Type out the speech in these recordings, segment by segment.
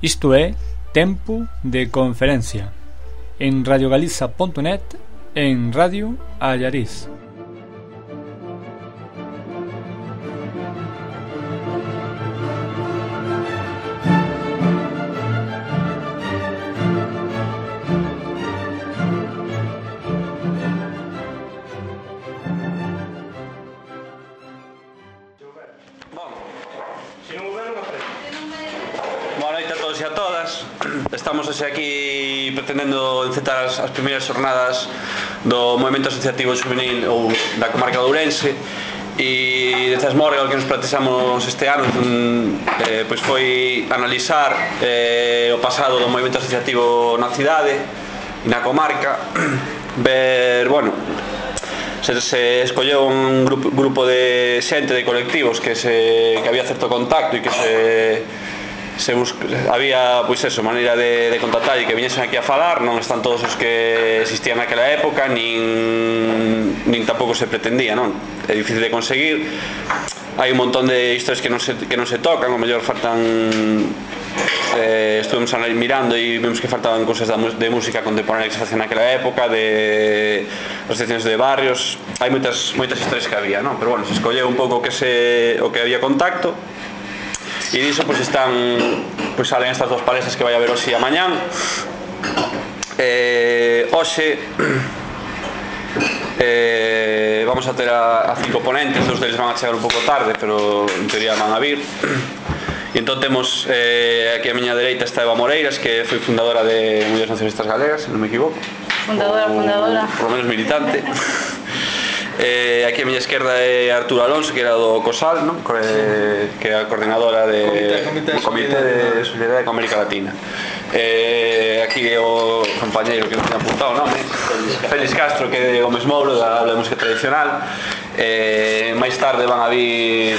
Isto é Tempo de Conferencia en radiogaliza.net e en Radio Allariz. Estamos hoxe aquí pretendendo encetar as primeiras xornadas do movimento asociativo juvenil ou da comarca de Ourense, e desde Asmorga o que nos plantexamos este ano pois foi analizar o pasado do movimento asociativo na cidade e na comarca, ver, bueno, se escolleu un grupo de xente, de colectivos que había certo contacto e que había, pois eso, maneira de contactar e que viñesen aquí a falar. Non están todos os que existían naquela época, nin tampouco se pretendía, non? É difícil de conseguir. Hai un montón de historias que non se tocan, o mellor faltan. Estuvemos mirando e vimos que faltaban cousas de música contemporánea que se facían naquela época, de asociacións de barrios. Hai moitas historias que había, non? Pero bueno, se escolleu un pouco o que había contacto. E diso pois salen estas dos palestras que vai haber hoxe e amañán. Hoxe vamos a ter a 5 ponentes, dos deles van a chegar un pouco tarde, pero en teoría van a vir. E entón temos aquí a miña dereita está Eva Moreiras, que foi fundadora de Mulleres Nacionalistas Galegas, se non me equivoco. Fundadora. Por lo menos militante. Aquí a miña esquerda é Arturo Alonso, que era do COSAL, non? Que é a coordinadora do Comité de Solidariedade con América Latina. Aquí é o compañeiro que non ten apuntado o nome, Félix Castro, que é de Gómez Mouro, da aula de música tradicional. Máis tarde van a vir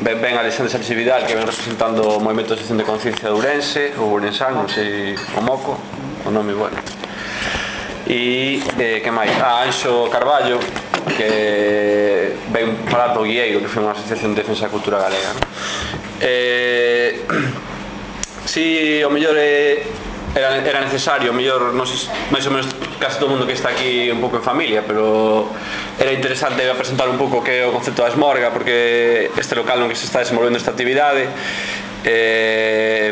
ben Alexandre Sánchez Vidal, que ven representando o Movimento de Asociación de Conciencia de Ourense, ou Ourensán, non sei o moco, o nome bueno. E que máis? Anxo Carballo, que ven falar do Guieiro, que foi unha asociación de defensa da cultura galega, non? Si o mellor era necesario, o mellor, non sei, máis ou menos casi todo o mundo que está aquí un pouco en familia, pero era interesante presentar un pouco o que é o concepto da Asmorga, porque este local no que se está desenvolvendo esta actividade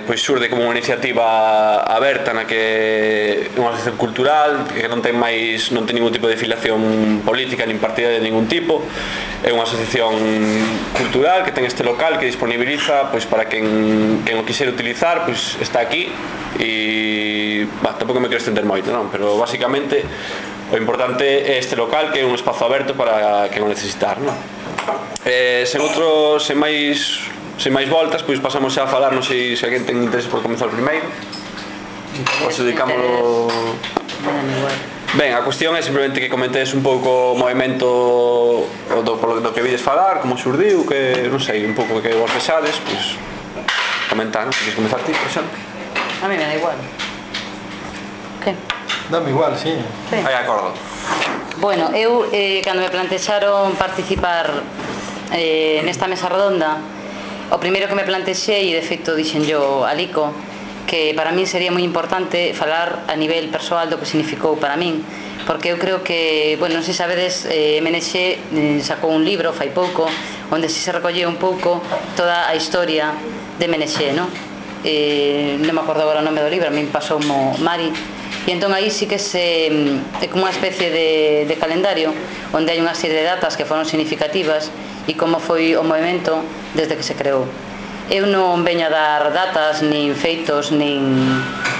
pois xurde como unha iniciativa aberta na que é unha asociación cultural que non ten ningún tipo de filiación política nin partidaria de ningún tipo. É unha asociación cultural que ten este local que disponibiliza pois para quen o quixera utilizar, pois está aquí. E tampouco me quero estender moito, non? Pero basicamente o importante é este local, que é un espazo aberto para quen o necesitar, non? Sen máis voltas, pois pasamos xa a falar. Non sei se alguén ten interés por comenzar o primeiro ou se dedicámoslo. Ben, a cuestión é simplemente que comentedes un pouco o movimento do que vides falar, como xurdiu, que non sei, un pouco que vos vexades, pois comentar, non? Se queres comenzar ti, por exemplo. A mí me da igual. Que? Dame igual, sí. Aí acordo. Bueno, eu cando me plantexaron participar nesta mesa redonda, o primeiro que me plantexei, e de feito dixen yo a Lico, que para min sería moi importante falar a nivel persoal do que significou para min, porque eu creo que, bueno, non sei sabedes, MNX sacou un libro fai pouco onde se recolleu un pouco toda a historia de MNX, non? Non me acordo agora o nome do libro, a min pasou Mari, e entón aí sí que é como unha especie de calendario onde hai unha serie de datas que foron significativas e como foi o movimento desde que se creou. Eu non veño a dar datas, nin feitos, nin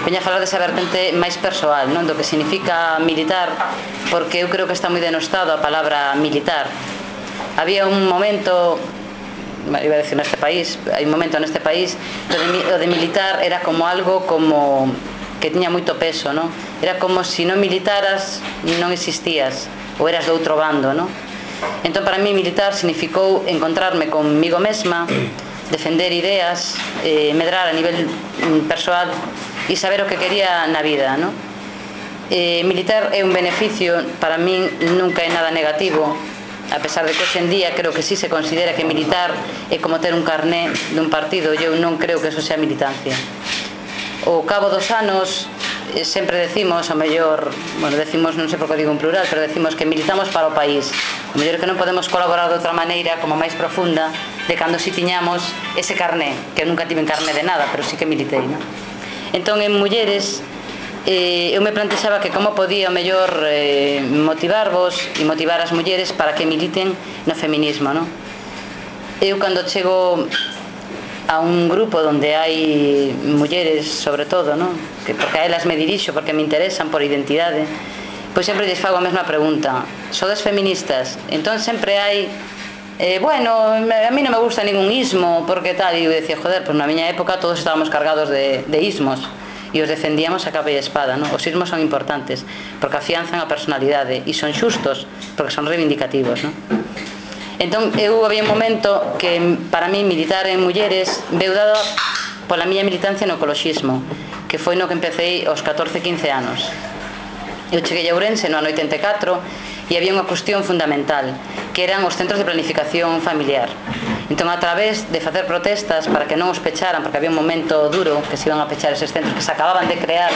veño a falar desa vertente máis persoal, non? Do que significa militar, porque eu creo que está moi denostado a palabra militar. Había un momento, iba a decir neste país, hai un momento neste país o de militar era como algo como que tiña moito peso, non? Era como se non militaras non existías, ou eras do outro bando, non? Entón para mí militar significou encontrarme conmigo mesma, defender ideas, medrar a nivel persoal e saber o que quería na vida, non? Militar é un beneficio, para min nunca é nada negativo. a pesar de que hoxe en día creo que sí se considera que militar é como ter un carné dun partido, eu non creo que eso sea militancia. Ao cabo dos anos sempre decimos, ao mellor, bueno, decimos, non sei por que digo en plural, pero decimos que militamos para o país. O mellor que non podemos colaborar de outra maneira, como máis profunda, de cando si tiñamos ese carné, que eu nunca tive carné de nada, pero sí que militei, non? Entón, en mulleres, eu me plantexaba que como podía o mellor motivarvos e motivar as mulleres para que militen no feminismo, non? Eu cando chego a un grupo onde hai mulleres, sobre todo, non? Porque a elas me dirixo, porque me interesan por identidade, pois sempre lles fago a mesma pregunta: sodes feministas? Entón sempre hai bueno, a mí non me gusta ningún ismo, porque tal, e eu decía, joder, pois na miña época todos estábamos cargados de ismos e os defendíamos a capa e espada, non? Os ismos son importantes porque afianzan a personalidade e son xustos porque son reivindicativos, non? Entón, había un momento que para mí militar en mulleres veu dado pola miña militancia no ecoloxismo, que foi no que empecé aos 14-15 anos. Eu cheguei a Ourense no ano 84 e había unha cuestión fundamental, que eran os centros de planificación familiar. Entón, a través de facer protestas para que non os pecharan, porque había un momento duro que se iban a pechar eses centros que se acababan de crear,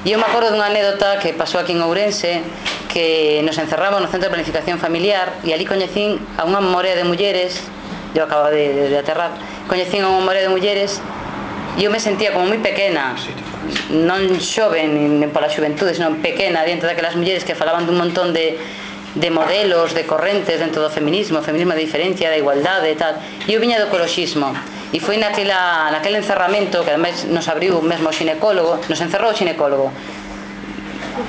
e eu me acordo dunha anécdota que pasou aquí en Ourense, que nos encerramos no centro de planificación familiar e ali coñecín a unha morea de mulleres, eu acababa de aterrar, coñecín a unha morea de mulleres e eu me sentía como moi pequena, non xoven nin pola xuventude, senón pequena diante daquelas mulleres que falaban dun montón de modelos, de correntes dentro do feminismo de diferencia, da igualdade e tal, e eu viña do ecoloxismo e foi naquele encerramento que ademais nos abriu mesmo o xinecólogo, nos encerrou o xinecólogo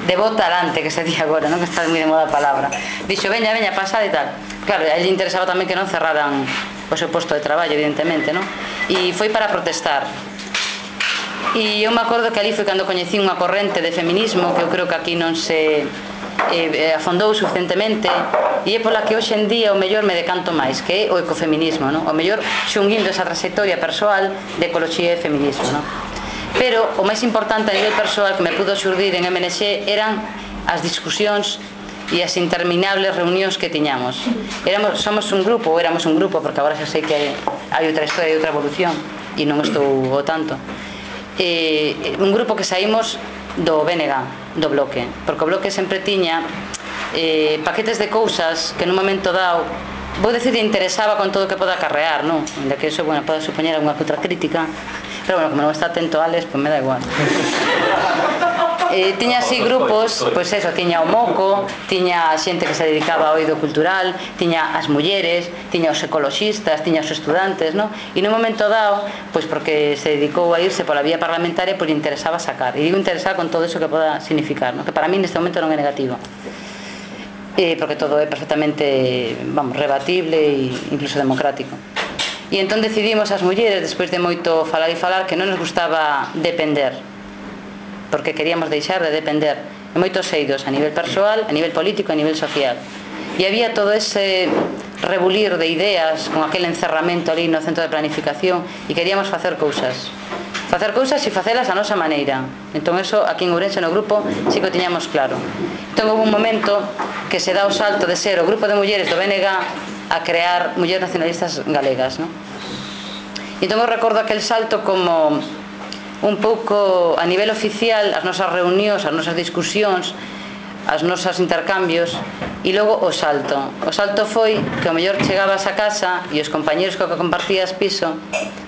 de bota alante, que se di agora, non? Que está moi de moda a palabra, dixo, veña, pasad e tal. Claro, a ele interesaba tamén que non cerraran o seu posto de traballo, evidentemente, non? E foi para protestar. E eu me acordo que ali foi cando coñecí unha corrente de feminismo que eu creo que aquí non se afondou suficientemente, e é pola que hoxe en día o mellor me decanto máis, que é o ecofeminismo, non? O mellor xunguindo esa trayectoria persoal de ecoloxía e feminismo, non? Pero o máis importante a nivel persoal que me pudo xurdir en MNX eran as discusións e as interminables reunións que tiñamos. Somos un grupo, ou éramos un grupo, porque agora xa sei que hai outra historia e outra evolución e non estou o tanto, un grupo que saímos do BNG, do Bloque, porque o Bloque sempre tiña paquetes de cousas que nun momento dado, vou dicir, interesaba con todo o que poda acarrear, non? Ainda que iso, bueno, poda supoñer alguna outra crítica, pero bueno, como non está atento a Alex, pois me dá igual. Tiña así grupos, pois eso, tiña o Moco, tiña xente que se dedicaba ao eido cultural, tiña as mulleres, tiña os ecoloxistas, tiña os estudantes, non? E nun momento dado, pois porque se dedicou a irse pola vía parlamentaria, pois lle interesaba sacar, e digo interesar con todo iso que poda significar, non? Que para mí neste momento non é negativo, porque todo é perfectamente, vamos, rebatible e incluso democrático. E entón decidimos as mulleres, despois de moito falar e falar, que non nos gustaba depender, porque queríamos deixar de depender en moitos eidos, a nivel persoal, a nivel político, a nivel social. E había todo ese rebulir de ideas con aquel encerramento ali no centro de planificación, e queríamos facer cousas e facelas a nosa maneira. Entón eso, aquí en Ourense no grupo, sí que o tiñamos claro. Entón houve un momento que se dá o salto de ser o grupo de mulleres do BNG a crear Mulleres Nacionalistas Galegas, non? Entón eu recordo aquel salto como un pouco a nivel oficial, as nosas reunións, as nosas discusións, as nosas intercambios, e logo o salto foi que ao mellor chegabas a casa e os compañeros co que compartías piso,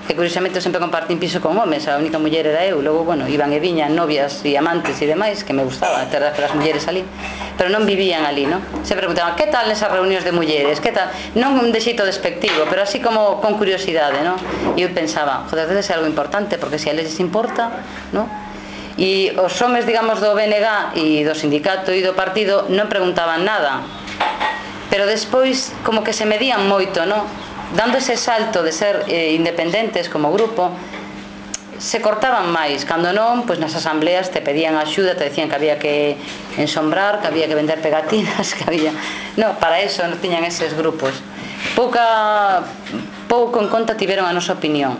que curiosamente eu sempre compartín piso con homes, a única muller era eu, logo, bueno, iban e viñan novias e amantes e demais, que me gustaba ter aquelas mulleres ali, pero non vivían ali, non? Se preguntaban, que tal nesas reunións de mulleres, que tal? Non de xeito despectivo, pero así como con curiosidade, non? E eu pensaba, joder, debe ser algo importante, porque se a eles importa, non? E os homes, digamos, do BNG e do sindicato e do partido non preguntaban nada, pero despois como que se medían moito, non? Dando ese salto de ser independentes como grupo, se cortaban máis. Cando non, pois nas asambleas te pedían axuda, te decían que había que ensombrar, que había que vender pegatinas, que había... Non, para eso non tiñan eses grupos. Pouco en conta tiveron a nosa opinión.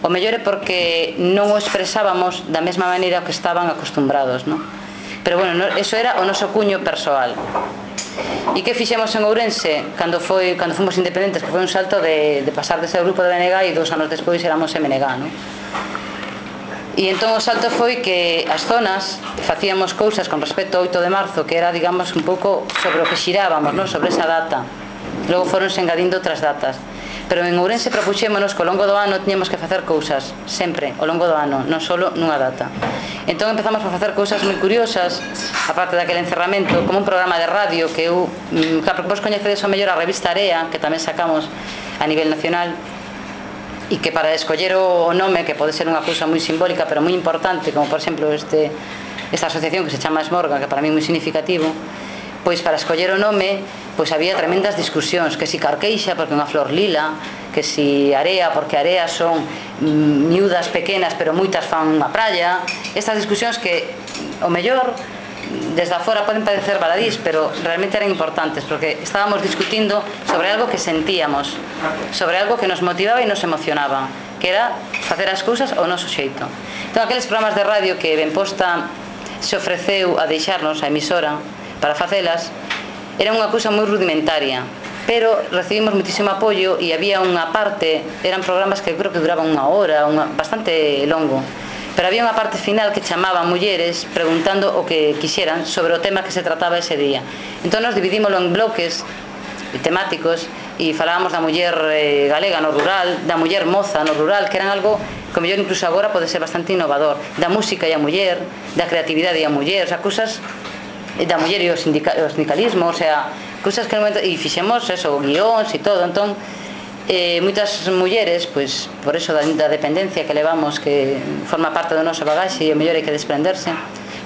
O mellor é porque non o expresábamos da mesma maneira que estaban acostumbrados, non? Pero bueno, eso era o noso cuño persoal. E que fixemos en Ourense cando fomos independentes, que foi un salto de pasar de ser o grupo de BNG e 2 anos despois éramos MNG, non? E entón o salto foi que as zonas facíamos cousas con respecto ao 8 de marzo, que era, digamos, un pouco sobre o que xirábamos, non? Sobre esa data. Logo foronse engadindo outras datas. Pero en Ourense propuxémonos que ao longo do ano tiñamos que facer cousas, sempre, ao longo do ano, non só nunha data. Entón empezamos a facer cousas moi curiosas, aparte daquele encerramento, como un programa de radio que eu, claro, porque vos coñecedes o mellor a revista Area, que tamén sacamos a nivel nacional, e que para escoller o nome, que pode ser unha cousa moi simbólica pero moi importante, como por exemplo esta asociación que se chama Esmorga, que para mí é moi significativo, pois para escoller o nome pois había tremendas discusións, que si Carqueixa porque é unha flor lila, que si Area porque Area son miúdas pequenas pero moitas fan unha praia. Estas discusións que o mellor desde afora poden parecer baladís, pero realmente eran importantes porque estábamos discutindo sobre algo que sentíamos, sobre algo que nos motivaba e nos emocionaba, que era facer as cousas ao noso xeito. Entón aqueles programas de radio que Benposta se ofreceu a deixarnos a emisora para facelas, era unha cousa moi rudimentaria, pero recibimos muitísimo apoio e había unha parte, eran programas que creo que duraban unha hora, bastante longo, pero había unha parte final que chamaba mulleres preguntando o que quixeran sobre o tema que se trataba ese día. Entón nos dividímoslo en bloques temáticos e falábamos da muller galega no rural, da muller moza no rural, que eran algo que o mellor incluso agora pode ser bastante innovador, da música e a muller, da creatividade e a muller, o sea, cousas da muller e o sindicalismo, o sea, cousas que no momento, e fixemos eso, guións e todo. Entón moitas mulleres, pois por eso da dependencia que levamos, que forma parte do noso bagaxe e o mellor hai que desprenderse.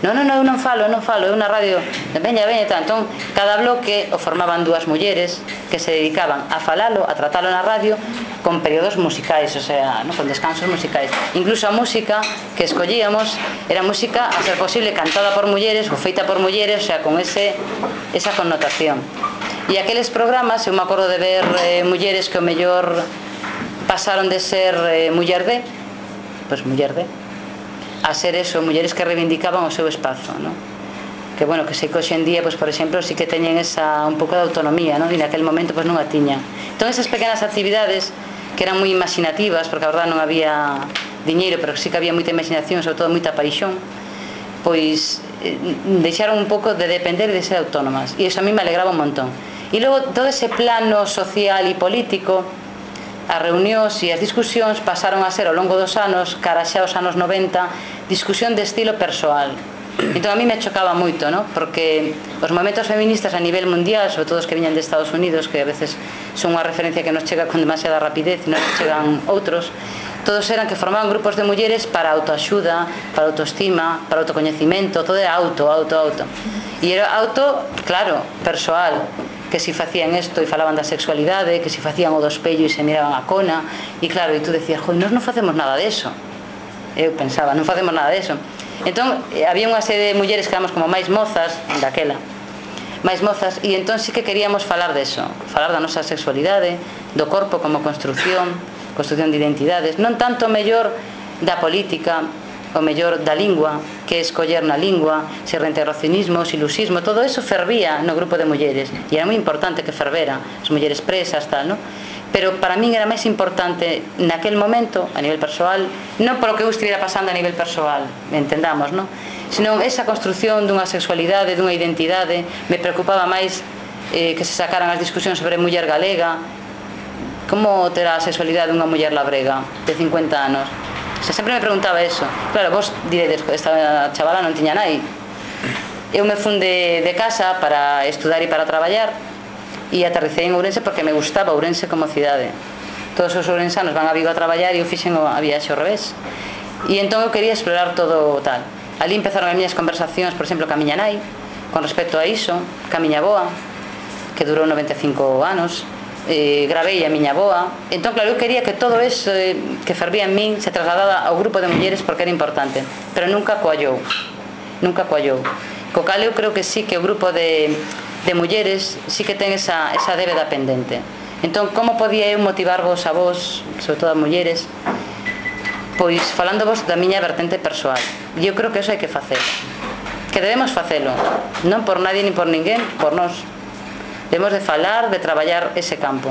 Non, eu non falo, é unha radio veña, tal. Entón cada bloque o formaban 2 mulleres que se dedicaban a falalo, a tratalo na radio con períodos musicais, o sea, ¿no? Con descansos musicais. Incluso a música que escollíamos era música a ser posible cantada por mulleres ou feita por mulleres, o sea, con esa connotación. E aqueles programas, eu me acordo de ver mulleres que o mellor pasaron de ser muller de, a ser eso, mulleres que reivindicaban o seu espazo, ¿no? Que bueno, que sei que hoxe en día, pues, por exemplo, sí que teñen esa un pouco de autonomía, ¿no? E naquel momento pues non a tiñan. Entón esas pequenas actividades que eran moi imaginativas, porque a verdade non había diñeiro, pero sí que había moita imaginación, sobre todo moita paixón, pois deixaron un pouco de depender e de ser autónomas, e iso a mí me alegraba un montón. E logo todo ese plano social e político, as reunións e as discusións pasaron a ser ao longo dos anos, cara xa aos anos 90, discusión de estilo persoal. Entón a mí me chocaba moito, ¿no? Porque os movimentos feministas a nivel mundial, sobre todo os que viñan de Estados Unidos, que a veces son unha referencia que nos chega con demasiada rapidez e non nos chegan outros, todos eran que formaban grupos de mulleres para autoaxuda, para autoestima, para autocoñecimento, todo era auto. E era auto, claro, persoal, que si facían isto e falaban da sexualidade, que si facían o do espello e se miraban a cona, e claro, e tú decías, joder, nós non facemos nada deso. Eu pensaba, non facemos nada deso. Entón, había unha serie de mulleres que éramos como máis mozas, daquela, máis mozas, e entón sí que queríamos falar deso, falar da nosa sexualidade, do corpo como construción de identidades, non tanto mellor da política, o mellor da lingua, que escoller na lingua, se reintegracionismo, se ilusismo, todo eso fervía no grupo de mulleres, e era moi importante que fervera, as mulleres presas, tal, non? Pero para min era máis importante naquel momento, a nivel persoal, non polo que eu estivera pasando a nivel persoal, entendamos, non? Senón esa construción dunha sexualidade, dunha identidade, me preocupaba máis que se sacaran as discusións sobre muller galega, como terá a sexualidade dunha muller labrega de 50 anos. O sea, sempre me preguntaba eso. Claro, vos diredes, esta chavala non tiña nai. Eu me fun de casa para estudar e para traballar, e aterricei en Ourense porque me gustaba Ourense como cidade. Todos os ourensanos van a Vigo a traballar e eu fixen a viaxe ao revés. E entón eu quería explorar todo tal. Ali empezaron as miñas conversacións, por exemplo, ca miña nai, con respecto a iso, ca miña boa, que durou 95 anos, gravei a miña boa. Entón, claro, eu quería que todo eso que fervía en min se trasladara ao grupo de mulleres porque era importante, pero nunca coallou. Co cal eu creo que sí que o grupo de mulleres sí que ten esa débeda pendente. Entón, como podía eu motivarvos a vos, sobre todo a mulleres, pois falándovos da miña vertente persoal. E eu creo que eso hai que facer, que debemos facelo, non por nadie ni por ninguén, por nós. debemos de falar, de traballar ese campo.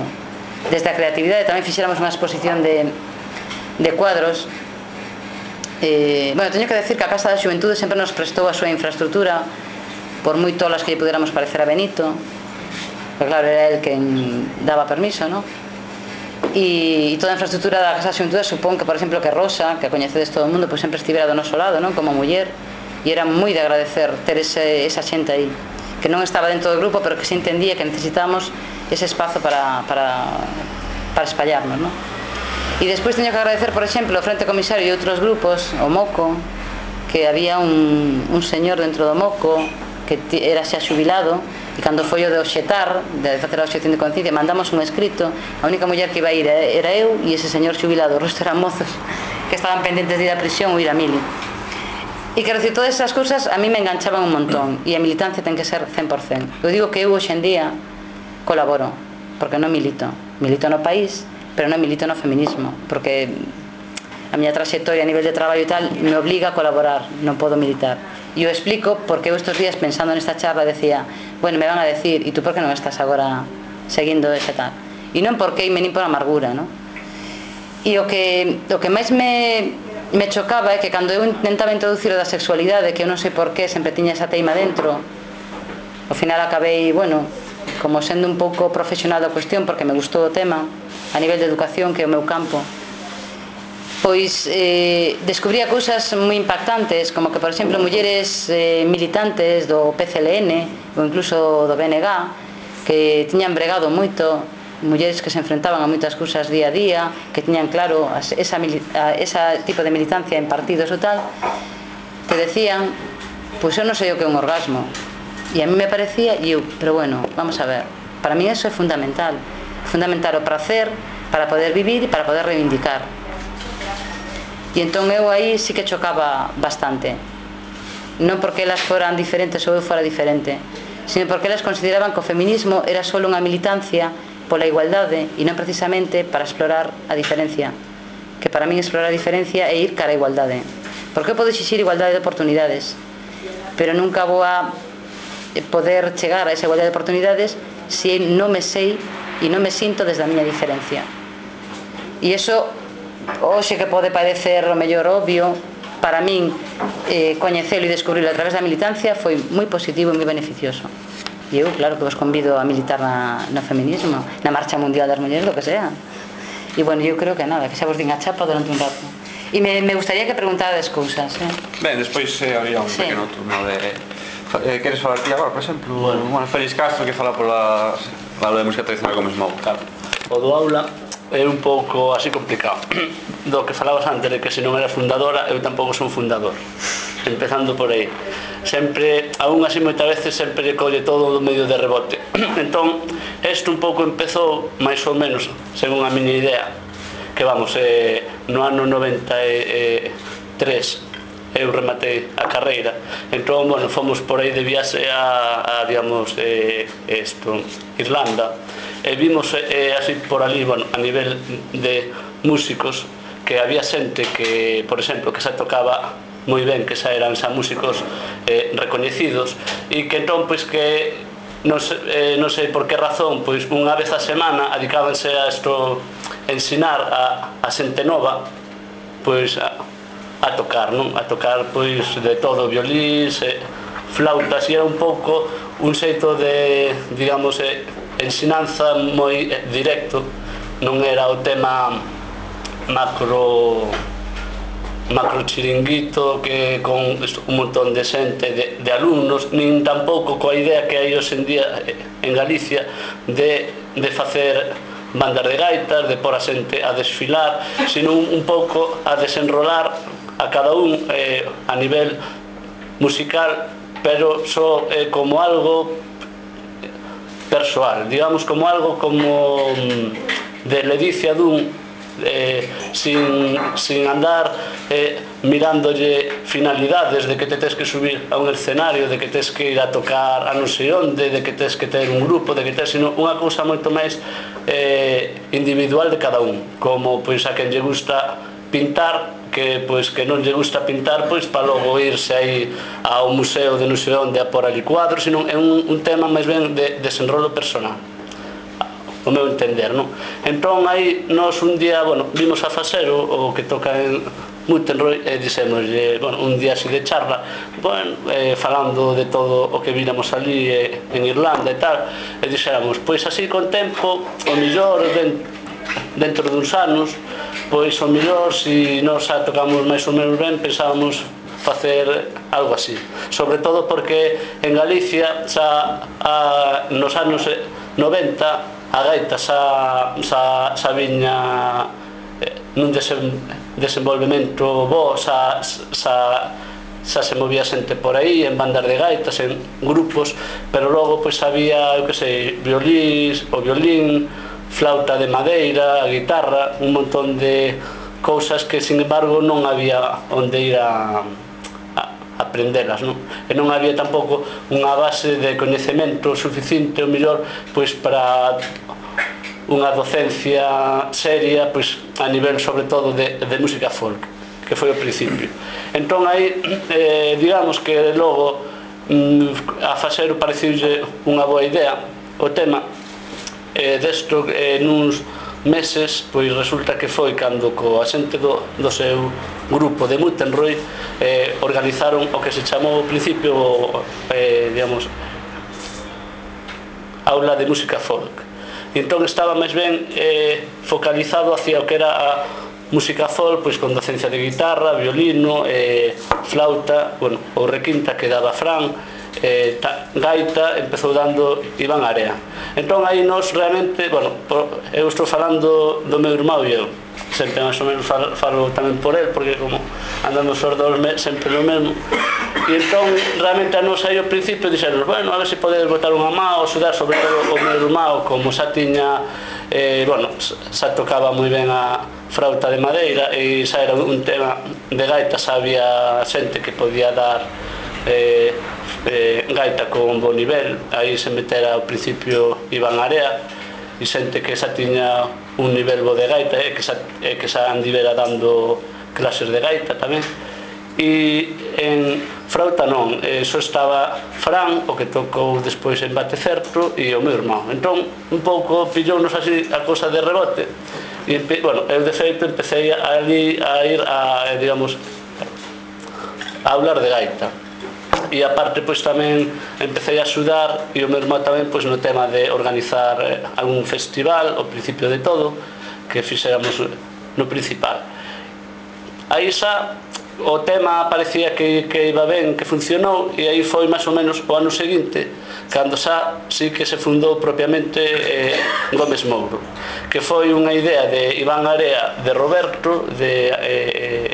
Desde a creatividade tamén fixéramos unha exposición de cuadros. Bueno, teño que decir que a Casa da Xuventude sempre nos prestou a súa infraestructura, por moi tolas que lle puderamos parecer a Benito, pero claro, era el quen daba permiso, non? E toda a infraestructura da Casa da Xuventude supón que, por exemplo, que Rosa, que a coñecedes todo o mundo, pois sempre estivera do noso lado, non? Como muller, e era moi de agradecer ter esa xente aí, que non estaba dentro do grupo, pero que se entendía que necesitamos ese espazo para espallarnos, non? E despois teño que agradecer, por exemplo, o Frente Comisario e outros grupos, o MOCO, que había un señor dentro do MOCO que era xa xubilado, e cando foi o de obxetar, de facer a obxección de conciencia, mandamos un escrito. A única muller que iba a ir era eu e ese señor xubilado, o resto eran mozos que estaban pendentes de ir a prisión ou ir a mili. E quero dicir, todas esas cousas a mí me enganchaban un montón, e a militancia ten que ser 100%. Eu digo que eu hoxe en día colaboro, porque non milito no país, pero non milito no feminismo, porque a miña trayectoria a nivel de traballo e tal me obliga a colaborar, non podo militar. E eu explico porque eu estes días pensando nesta charla decía, bueno, me van a decir, e tú por que non estás agora seguindo ese tal? E non porque me nin por amargura, non? E o que máis me chocaba é que cando eu intentaba introducir o da sexualidade, que eu non sei por qué sempre tiña esa teima dentro, ao final acabei, bueno, como sendo un pouco profesional da cuestión, porque me gustou o tema a nivel de educación, que é o meu campo, pois descubría cousas moi impactantes, como que, por exemplo, mulleres militantes do PCLN ou incluso do BNG, que tiñan bregado moito, mulleres que se enfrentaban a moitas cousas día a día, que tiñan claro ese tipo de militancia en partidos ou tal, te decían, pois eu non sei o que é un orgasmo. E a mí me parecía, pero bueno, vamos a ver, para mí eso é fundamental o prazer para poder vivir e para poder reivindicar. E entón eu aí sí que chocaba bastante, non porque elas foran diferentes ou eu fora diferente, sino porque elas consideraban que o feminismo era só unha militancia pola igualdade e non precisamente para explorar a diferencia, que para min explorar a diferencia é ir cara a igualdade, porque eu podo exixir igualdade de oportunidades, pero nunca vou a poder chegar a esa igualdade de oportunidades se non me sei e non me sinto desde a miña diferencia. E iso hoxe que pode parecer o mellor obvio, para min coñecelo e descubrilo a través da militancia foi moi positivo e moi beneficioso. E eu, claro, que vos convido a militar no feminismo, na Marcha Mundial das Mulleres, lo que sea. E bueno, eu creo que nada, que xa vos din a chapa durante un rato. E me gustaría que preguntades cousas. Ben, despois habría un pequeno turno de... Queres falar ti agora, por exemplo? Bueno, Félix Castro, que fala pola de música tradicional como Smoke. Claro. O do aula é un pouco así complicado. Do que falabas antes de que se non era fundadora, eu tampouco son fundador, empezando por aí. Sempre, aún así moitas veces sempre colle todo do medio de rebote. Entón, isto un pouco empezou máis ou menos, según a miña idea, que vamos, no ano 93 eu rematei a carreira. Entón, bueno, fomos por aí de viaxe a digamos, Irlanda, e vimos así por ali, bueno, a nivel de músicos, que había xente que, por exemplo, que xa tocaba moi ben, que xa eran xa músicos recoñecidos, e que entón, pois, que non sei por que razón, pois unha vez a semana adicábanse a isto, ensinar a xente nova, pois a tocar, non? A tocar, pois, de todo, violís, flautas, e era un pouco un xeito de, digamos, ensinanza moi directo, non era o tema macro chiringuito que con un montón de xente de alumnos, nin tampouco coa idea que hai hoxe en día en Galicia de facer bandas de gaitas, de pôr a xente a desfilar, sino un pouco a desenrolar a cada un a nivel musical, pero só como algo persoal, digamos, como algo como de ledicia dun, sin andar mirándolle finalidades de que te tes que subir a un escenario, de que tes que ir a tocar a non sei onde, de que tes que ter un grupo, de que tes, sino unha cousa moito máis individual de cada un, como pois a quen lle gusta pintar, que non lle gusta pintar, pois para logo irse aí ao museo de non sei onde a por ali cuadros, sino é un tema máis ben de desenrolo personal, o meu entender, non? Entón aí nós un día, vimos a facer o que toca en Montenroy e dixémoslle, un día así de charla, falando de todo o que víramos ali en Irlanda e tal, e dixéramos, pois así con tempo, o mellor dentro duns anos, pois o mellor, se nós xa tocamos máis ou menos ben, pensábamos facer algo así, sobre todo porque en Galicia xa nos anos 90 a gaita xa viña nun desenvolvemento bo, xa se movía xente por aí en bandas de gaitas, en grupos, pero logo pois había, eu que sei, violín, flauta de madeira, guitarra, un montón de cousas que, sin embargo, non había onde ir a aprendelas, non? E non había tampouco unha base de coñecemento suficiente, o mellor, pois para unha docencia seria, pois a nivel sobre todo de música folk, que foi o principio. Entón aí, digamos que logo a Fasero pareciulle unha boa idea o tema. Desto, nuns meses, pois resulta que foi cando coa xente do seu grupo de Montenroy organizaron o que se chamou ao principio, digamos, aula de música folk. Entón estaba máis ben focalizado hacia o que era a música folk, pois con docencia de guitarra, violino, flauta, o requinta que daba Fran, gaita empezou dando Iván Area. Entón aí nós realmente, eu estou falando do meu irmão e eu sempre máis ou menos falo tamén por el, porque como andamos os dous sempre no mesmo, e entón realmente a nós aí ao principio dixeron, a ver se podedes botar unha má ou axudar, sobre todo o meu irmão, como xa tiña xa tocaba moi ben a flauta de madeira e xa era un tema de gaita, xa había xente que podía dar gaita con bo nivel, aí se metera ao principio Iván Area e xente que xa tiña un nivel bo de gaita e que xa andivera dando clases de gaita tamén. E en flauta non, só estaba Fran, o que tocou despois en Bate Certo, e o meu irmão. Entón un pouco pillounos así a cousa de rebote e eu de feito empecé ali a ir a, digamos, a hablar de gaita. E aparte pois tamén empecé a axudar e o meu irmão tamén pois no tema de organizar algún festival ao principio de todo que fixéramos no principal. Aí xa o tema parecía que iba ben, que funcionou, e aí foi máis ou menos o ano seguinte cando xa sí que se fundou propiamente Gómez Mouro, que foi unha idea de Iván Area, de Roberto, de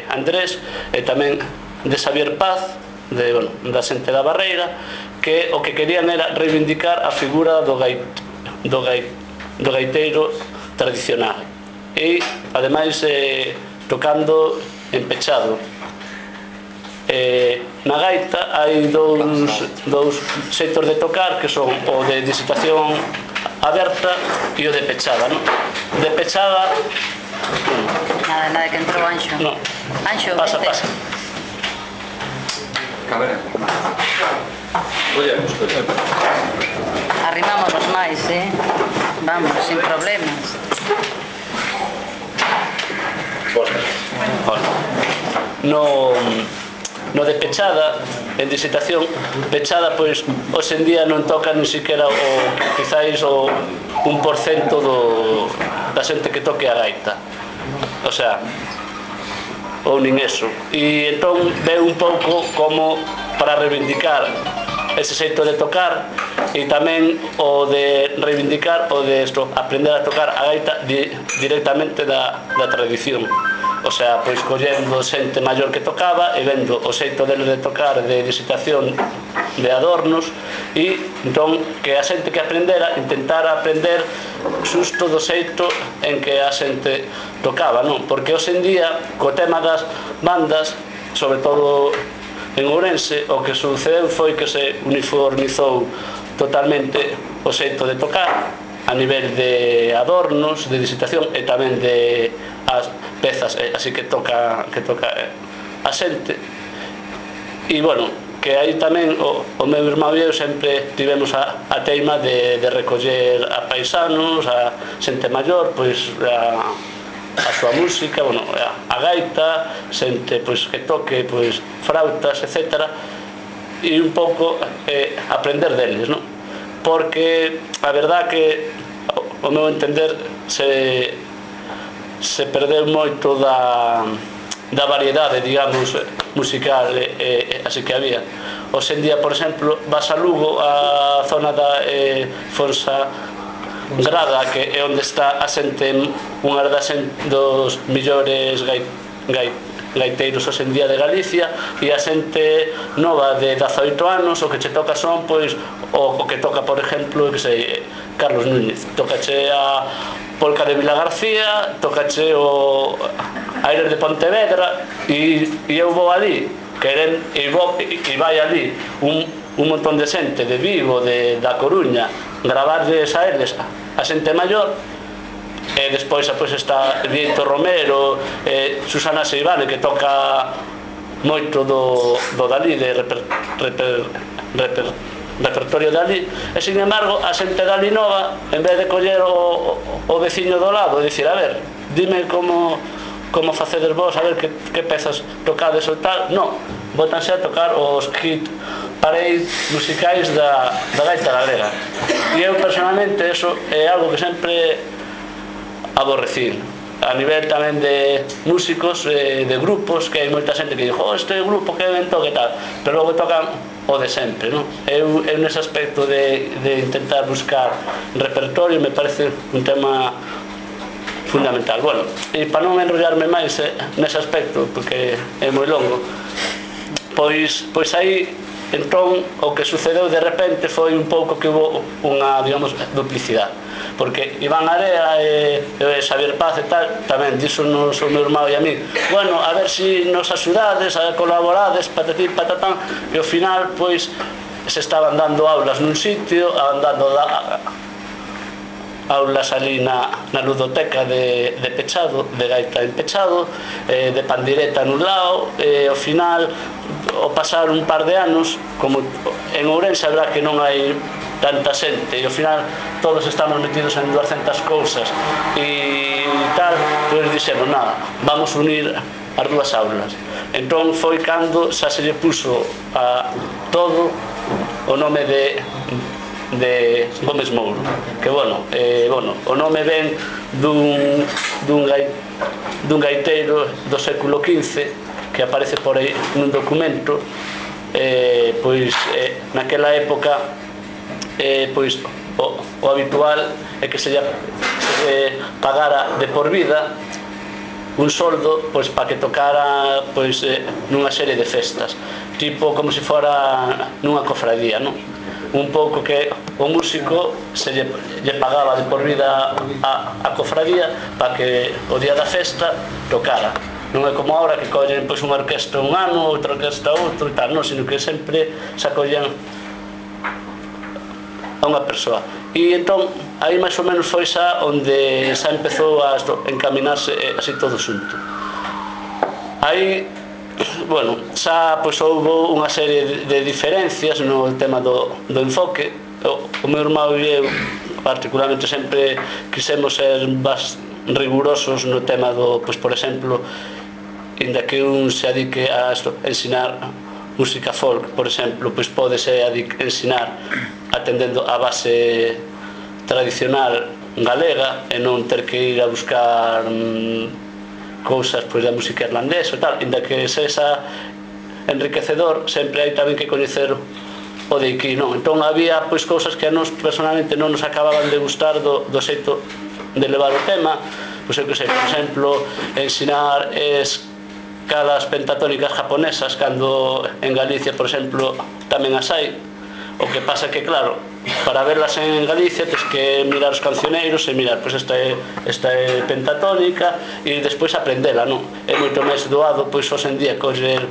Andrés e tamén de Xavier Paz, da xente da Barreira, que o que querían era reivindicar a figura do gaiteiro tradicional e ademais tocando en pechado. Na gaita hai dous xeitos de tocar, que son o de disitación aberta e o de pechada, non? De pechada nada que entrou Anxo. No. Anxo, pasa. Arrimámonos máis, vamos, sin problemas. No de pechada, en disitación pechada, pois hoxe en día non toca ni siquiera quizáis o 1% da xente que toque a gaita, o sea, ou nin eso. E entón veo un pouco como para reivindicar ese xeito de tocar e tamén o de reivindicar o de aprender a tocar a gaita directamente da tradición, o sea, pois collendo xente maior que tocaba e vendo o xeito deles de tocar, de disitación, de adornos, e entón que a xente que aprendera intentara aprender xusto do xeito en que a xente tocaba, non? Porque hoxe en día, co tema das bandas, sobre todo en Ourense, o que sucedeu foi que se uniformizou totalmente o xeito de tocar a nivel de adornos, de disitación e tamén de as pezas, así que toca a xente. E, bueno, que aí tamén o meu irmão e eu sempre tivemos a teima de recoller a paisanos, a xente maior, pois a súa música, bueno, a gaita, xente pois que toque pois frautas, etc. E un pouco aprender deles, non? Porque a verdad que o meu entender se perdeu moito da variedade, digamos, musical, así que había. Hoxe en día, por exemplo, vas a Lugo, a zona da Fonsagrada, que é onde está a xente, unha dos millores gaiteiros hoxe en día de Galicia, e a xente nova de 18 anos o que che toca son, pois, o que toca, por exemplo, que sei, Carlos Núñez, tocache a polca de Vila García, tocache o Aires de Pontevedra, e eu vou ali, e vai ali un montón de xente de Vigo, da Coruña, gravarles a eles a xente maior, e despois está Dieto Romero, Susana Seivane, que toca moito do dali, de repertorio dali, e sin embargo a xente dali nova, en vez de coller o veciño do lado e dicir, a ver, dime como facedes vos, a ver que pezas tocades ou tal, non, botanse a tocar os hit parade musicais da gaita galega. E eu personalmente eso é algo que sempre aborrecí. A nivel tamén de músicos, de grupos, que hai moita xente que dixo, este grupo que ben toque tal, pero logo tocan o de sempre, non? Eu nese aspecto de intentar buscar repertorio me parece un tema fundamental. Bueno, e para non enrollarme máis nese aspecto, porque é moi longo, pois aí entón o que sucedeu de repente foi un pouco que hubo unha, digamos, duplicidade, porque Iván Area e Xavier Paz e tal tamén díxonos o meu irmão e a mí, bueno, a ver se nos axudades, a colaborades, patatí, patatán, e ao final pois se estaban dando aulas nun sitio, dando aulas ali na ludoteca de Pechado, de gaita en Pechado, de pandireta nun lado, e ao final, ao pasar un par de anos, como en Ourense habrá que non hai tanta xente, e ao final todos estamos metidos en 200 cousas e tal, pois dixemos, nada, vamos unir as dúas aulas. Entón foi cando xa se lle puso a todo o nome de Gómez Mouro, que bueno, o nome ven dun gaiteiro do século XV que aparece por aí nun documento, pois naquela época pois o habitual é que se pagara de por vida un soldo pois para que tocara pois nunha serie de festas, tipo como se fora nunha cofradía, non? Un pouco que o músico se lle pagaba de por vida a cofradía para que o día da festa tocara. Non é como agora que collen pois unha orquestra un ano, outra orquestra outro e tal, non, sino que sempre se acollen a unha persoa. E entón aí máis ou menos foi xa onde xa empezou a encaminarse así todo xunto. Aí, bueno, xa pois houve unha serie de diferencias no tema do enfoque. O meu irmão e eu particularmente sempre quisemos ser rigurosos no tema do, pois por exemplo, inda que un se adique a ensinar música folk, por exemplo, pois pódese ensinar atendendo a base tradicional galega e non ter que ir a buscar cousas pois da música irlandesa e tal, inda que sexa enriquecedor, sempre hai tamén que coñecer o de aquí, non? Entón había pois cousas que a nos personalmente non nos acababan de gustar do xeito de levar o tema, pois eu que sei, por exemplo, ensinar escalas pentatónicas japonesas cando en Galicia, por exemplo, tamén as hai. O que pasa que, claro, para verlas en Galicia tens que mirar os cancioneiros e mirar, pois esta é pentatónica e despois aprendela, non? É moito máis doado, pois, hoxe en día coller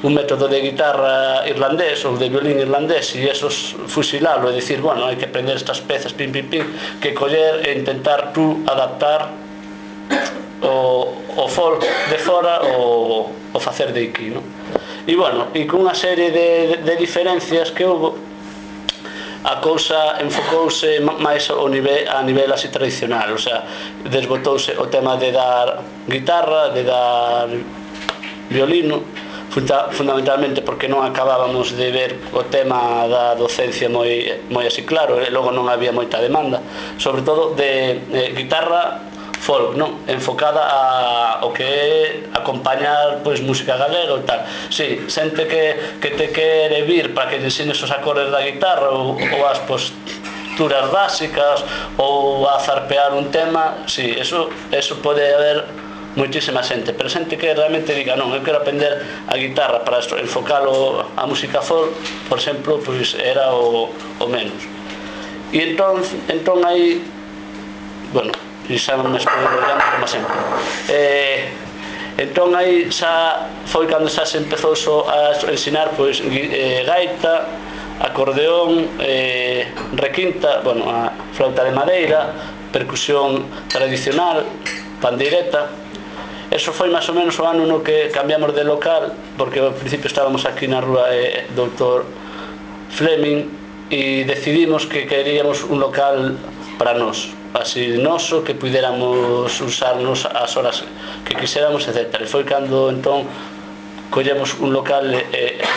un método de guitarra irlandés ou de violín irlandés e eso fusilalo e dicir, bueno, hai que aprender estas pezas, pim, pim, pim, que coller e intentar tú adaptar o folk de fora o facer de aquí, non? E, bueno, e con unha serie de diferencias que houve, a cousa enfocouse máis a nivel así tradicional, o sea, desbotouse o tema de dar guitarra, de dar violino, fundamentalmente porque non acabábamos de ver o tema da docencia moi así claro, e logo non había moita demanda, sobre todo de guitarra folk, non? Enfocada ao que é acompañar pois música galega ou tal. Si, xente que te quere vir para que te enseñes os acordes da guitarra ou as posturas básicas ou a zarpear un tema, si, eso pode haber moitísima xente, pero xente que realmente diga, non, eu quero aprender a guitarra para enfocalo a música folk, por exemplo, pois era o menos. E entón aí, bueno, e xa me estou enrollando como sempre, entón aí xa foi cando xa se empezou a ensinar pois gaita, acordeón, requinta, bueno, a flauta de madeira, percusión tradicional, pandeireta. Eso foi máis ou menos o ano no que cambiamos de local, porque ao principio estábamos aquí na rúa Doutor Fleming e decidimos que queríamos un local para nós, así noso, que puidéramos usarnos as horas que quixéramos, etc. E foi cando entón collemos un local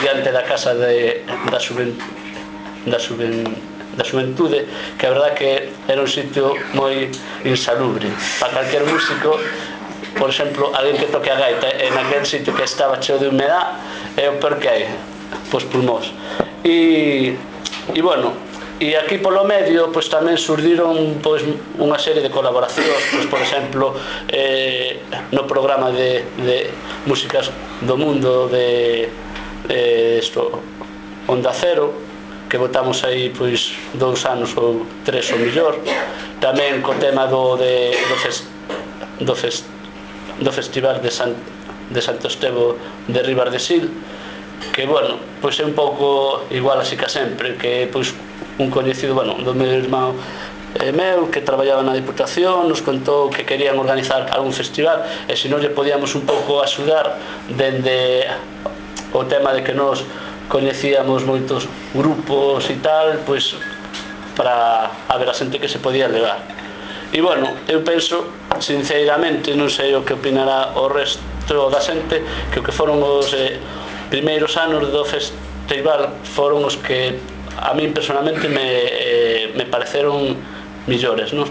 diante da casa da xuventude, que a verdad que era un sitio moi insalubre para calquer músico. Por exemplo, alguén que toque a gaita en aquel sitio que estaba cheo de humedad é o peor que hai, pois pulmós. E bueno, e aquí polo medio pois tamén surdiron pois unha serie de colaboracións, pois por exemplo no programa de músicas do mundo de Onda Cero, que votamos aí pois 2 anos ou 3 ou millor, tamén co tema do Festival de Santo Estevo de Ribas de Sil, que, bueno, pois é un pouco igual así que sempre, que pois un coñecido, bueno, do meu irmão meu, que traballaba na Diputación, nos contou que querían organizar algún festival e se non lle podíamos un pouco axudar dende o tema de que nos coñecíamos moitos grupos e tal, pois para a ver a xente que se podía levar. E, bueno, eu penso, sinceramente, non sei o que opinará o resto da xente, que o que foron os primeiros anos do festival foron os que a min personalmente me pareceron millores, non?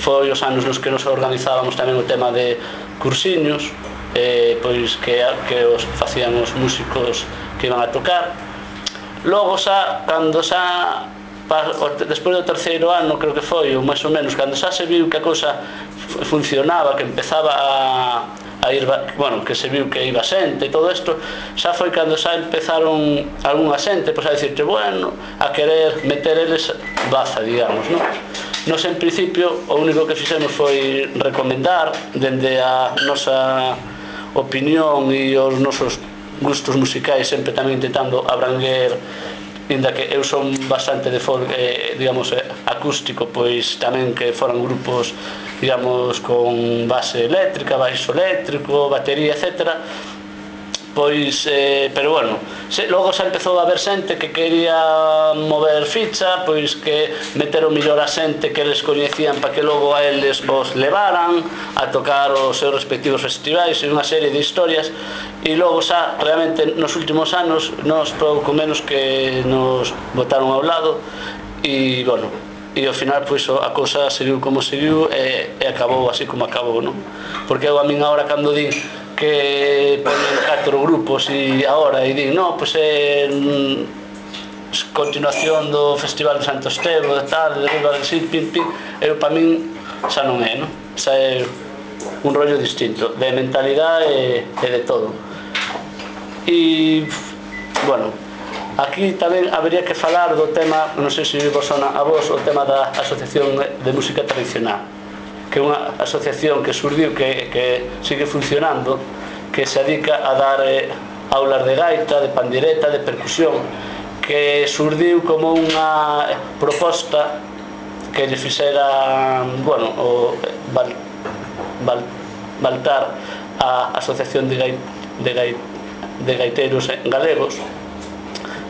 Foi os anos nos que nos organizábamos tamén o tema de cursiños, pois que os facían os músicos que iban a tocar. Logo xa, cando xa despois do terceiro ano, creo que foi, ou máis ou menos, cando xa se viu que a cousa funcionaba, que empezaba a ir, bueno, que se viu que iba xente e todo isto, xa foi cando xa empezaron algunha xente pois a dicirte, bueno, a querer meter eles baza, digamos, non? Nos, en principio, o único que fixemos foi recomendar dende a nosa opinión e os nosos gustos musicais, sempre tamén intentando abranguer, inda que eu son bastante de folk, digamos, acústico, pois tamén que foran grupos, digamos, con base eléctrica, baixo eléctrico, batería, etc. Pois, pero bueno, logo xa empezou a haber xente que quería mover ficha, pois que meteron millor a xente que eles coñecían para que logo a eles os levaran a tocar os seus respectivos festivais e unha serie de historias. E logo xa, realmente, nos últimos anos, nos pouco menos que nos botaron ao lado e, bueno, e ao final, pois, a cousa seguiu como seguiu e acabou así como acabou, non? Porque eu a min agora, cando din que ponen 4 grupos e agora e din, non, pois é continuación do Festival de Santo Estevo, de tal, de Ribas de Sil, pim, pim, eu, para min, xa non é, non? Xa é un rollo distinto, de mentalidade e de todo. E, bueno, aquí tamén habería que falar do tema, non sei se vos sona a vos, o tema da Asociación de Música Tradicional, que é unha asociación que surdiu, que sigue funcionando, que se dedica a dar aulas de gaita, de pandireta, de percusión, que surdiu como unha proposta que lle fixera, bueno, o Baltar a Asociación de Gaiteiros Galegos,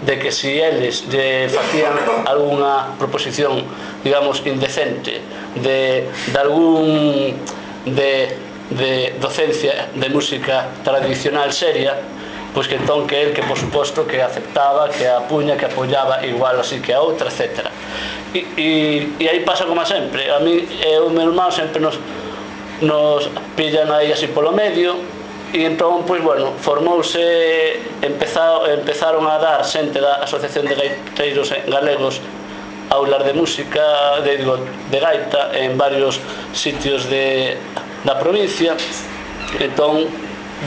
de que si eles lle facían algunha proposición, digamos, indecente de algún de docencia de música tradicional seria, pois que entón que el, que por suposto que aceptaba, que a puña, que apoyaba igual así que a outra, etc. E aí pasa como sempre. A mí e o meu irmão sempre nos pillan aí así polo medio, e entón, pois, bueno, formouse, empezaron a dar xente da Asociación de Gaiteiros Galegos aulas de música, de gaita, en varios sitios da provincia. Entón,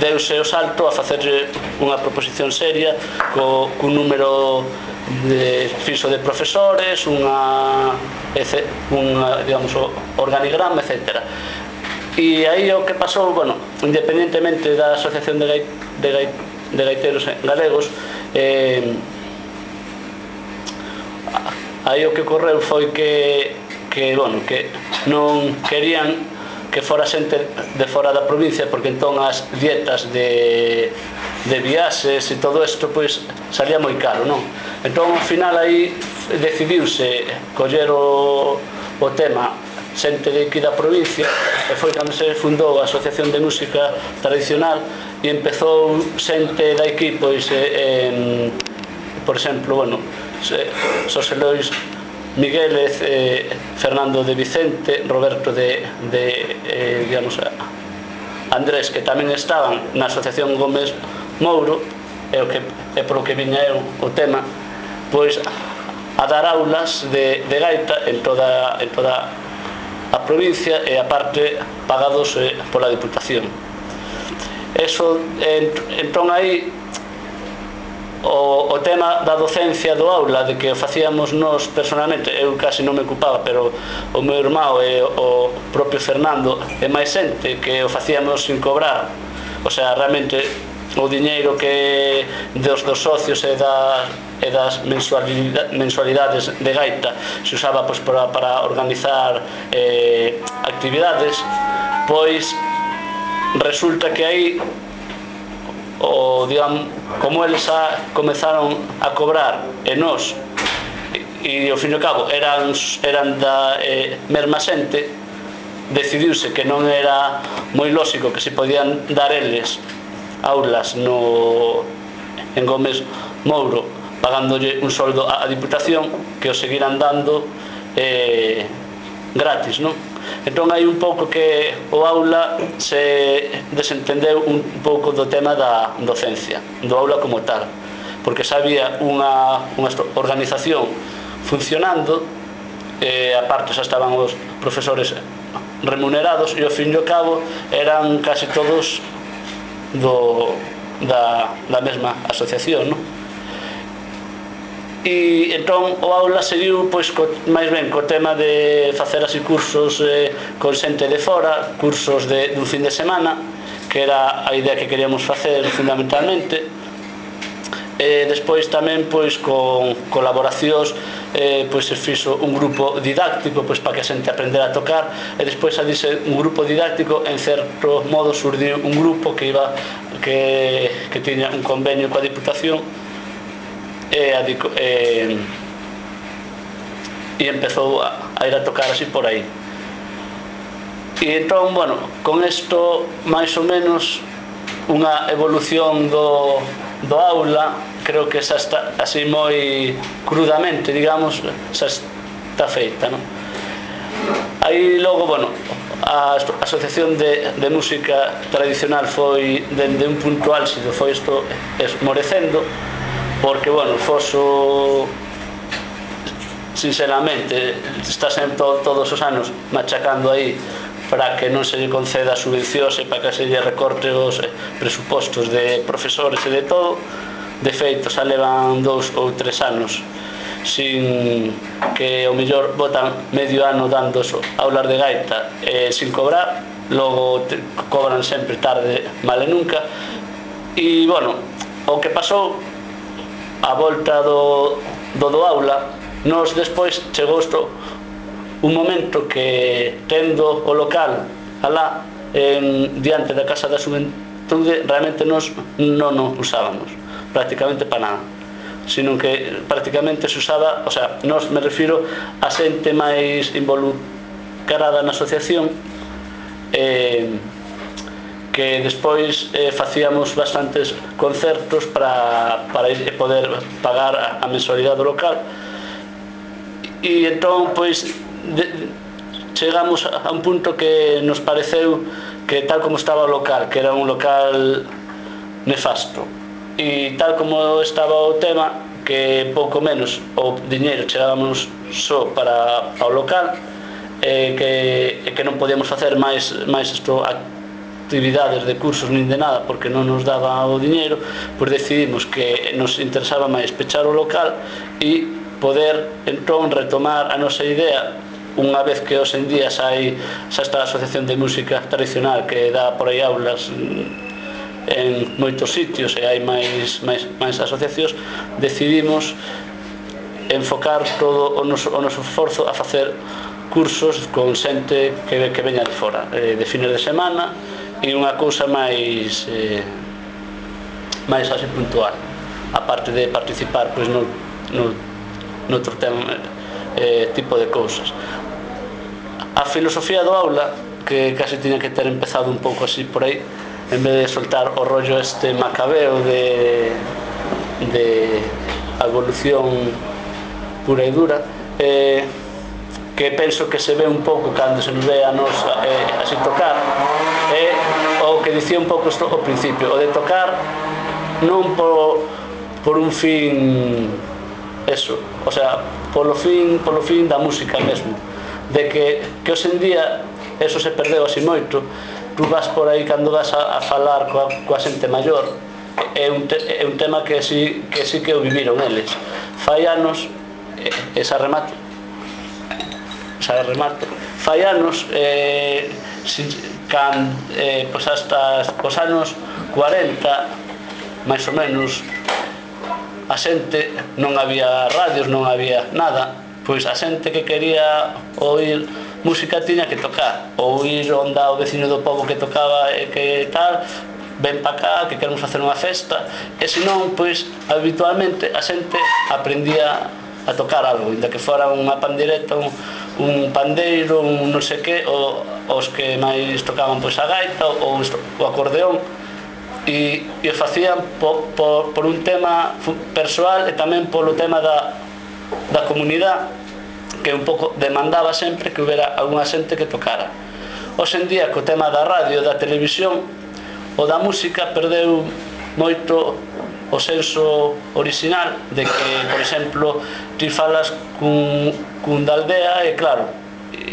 deuse o salto a facer unha proposición seria cun número fixo de profesores, digamos, organigrama, etc. E aí o que pasou, bueno, independentemente da Asociación de Gaiteiros Galegos, aí o que ocorreu foi que bueno, que non querían que fora xente de fora da provincia, porque entón as dietas de viaxes e todo isto, pois, salía moi caro, non? Entón, ao final, aí decidiuse coller o tema xente de aquí da provincia, e foi cando se fundou a Asociación de Música Tradicional, e empezou xente de aquí, pois, por exemplo, bueno, Xosé Lois Miguélez, Fernando de Vicente, Roberto digamos, Andrés, que tamén estaban na Asociación Gómez Mouro, é polo que viña eu o tema, pois, a dar aulas de gaita en toda a provincia, e aparte pagados pola Diputación. Eso, entón aí o tema da docencia do aula, de que o facíamos nós personalmente, eu casi non me ocupaba, pero o meu irmão e o propio Fernando e máis xente que o facíamos sin cobrar, o sea, realmente o diñeiro que dos socios e das mensualidades de gaita se usaba, pois, para organizar actividades, pois resulta que aí, digamos, como eles comezaron a cobrar e nós, e ao fin e ao cabo eran da mesma xente, decidiuse que non era moi lógico que se podían dar eles aulas en Gómez Mouro pagándolle un soldo á Diputación, que o seguiran dando gratis, non? Entón hai un pouco que o aula se desentendeu un pouco do tema da docencia, do aula como tal, porque xa había unha organización funcionando, aparte xa estaban os profesores remunerados, e ao fin e ao cabo eran casi todos da mesma asociación, non? E entón o aula seguiu, pois, máis ben co tema de facer así cursos con xente de fora, cursos dun fin de semana, que era a idea que queríamos facer fundamentalmente. Despois tamén, pois, con colaboracións, pois se fixo un grupo didáctico, pois, para que a xente aprendera a tocar, e despois a dice un grupo didáctico, en certo modo surdiu un grupo que tiña un convenio coa Diputación, e empezou a ir a tocar así por aí. E entón, bueno, con isto máis ou menos unha evolución do aula, creo que xa está así moi crudamente, digamos, xa está feita, non? Aí logo, bueno, a Asociación de Música Tradicional foi, dende un punto álxido, foi isto esmorecendo, porque, bueno, Foso, sinceramente, está sempre todos os anos machacando aí para que non se lle conceda subvencións e para que se lle recorte os presupostos de profesores e de todo. De feito, xa levan 2 ou 3 anos sin que, ao mellor, botan medio ano dando aulas de gaita sin cobrar, logo cobran sempre tarde, mal e nunca. E, bueno, o que pasou a volta do aula, nos despois chegou un momento que tendo o local alá diante da Casa da Xuventude, realmente nos non o usábamos prácticamente para nada, sino que prácticamente se usaba, o sea, nos me refiro a xente máis involucrada na asociación, que despois facíamos bastantes concertos para poder pagar a mensualidade do local. E entón, pois, chegamos a un punto que nos pareceu que tal como estaba o local, que era un local nefasto, e tal como estaba o tema, que pouco menos o diñeiro chegábamos só para o local, que non podíamos facer máis actividades de cursos nin de nada porque non nos daba o diñeiro, pois decidimos que nos interesaba máis pechar o local e poder entón retomar a nosa idea unha vez que hoxe en día xa está a Asociación de Música Tradicional, que dá por aí aulas en moitos sitios e hai máis asociacións. Decidimos enfocar todo o noso esforzo a facer cursos con xente que veña de fora, de fines de semana, e unha cousa máis así puntual, aparte de participar pois noutro tipo de cousas. A filosofía do aula, que casi tiña que ter empezado un pouco así por aí, en vez de soltar o rollo macabeo de evolución pura e dura, que penso que se ve un pouco cando se nos ve a nos así tocar, o que dicía un pouco isto ao principio, o de tocar non por un fin eso, o sea, polo fin da música mesmo, de que hoxe en día eso se perdeu así moito. Tú vas por aí cando vas a falar coa xente maior, é un tema que sí que o viviron eles. Fai anos, esa remato, fai anos, pois hasta os anos 40, máis ou menos, a xente non había radios, non había nada, pois a xente que quería oír música tiña que tocar, ou ir onde o veciño do pobo que tocaba e que tal, ven pa cá, que queremos facer unha festa, e senón, pois, habitualmente a xente aprendía a tocar algo, inda que fora unha pandereta, un pandeiro, un non sei que, os que máis tocaban pois a gaita ou o acordeón, e o facían por un tema persoal e tamén polo tema da comunidade, que un pouco demandaba sempre que houbera algunha xente que tocara. Hoxe en día, co tema da radio, da televisión ou da música, perdeu moito o senso original de que, por exemplo, ti falas cun da aldea e claro,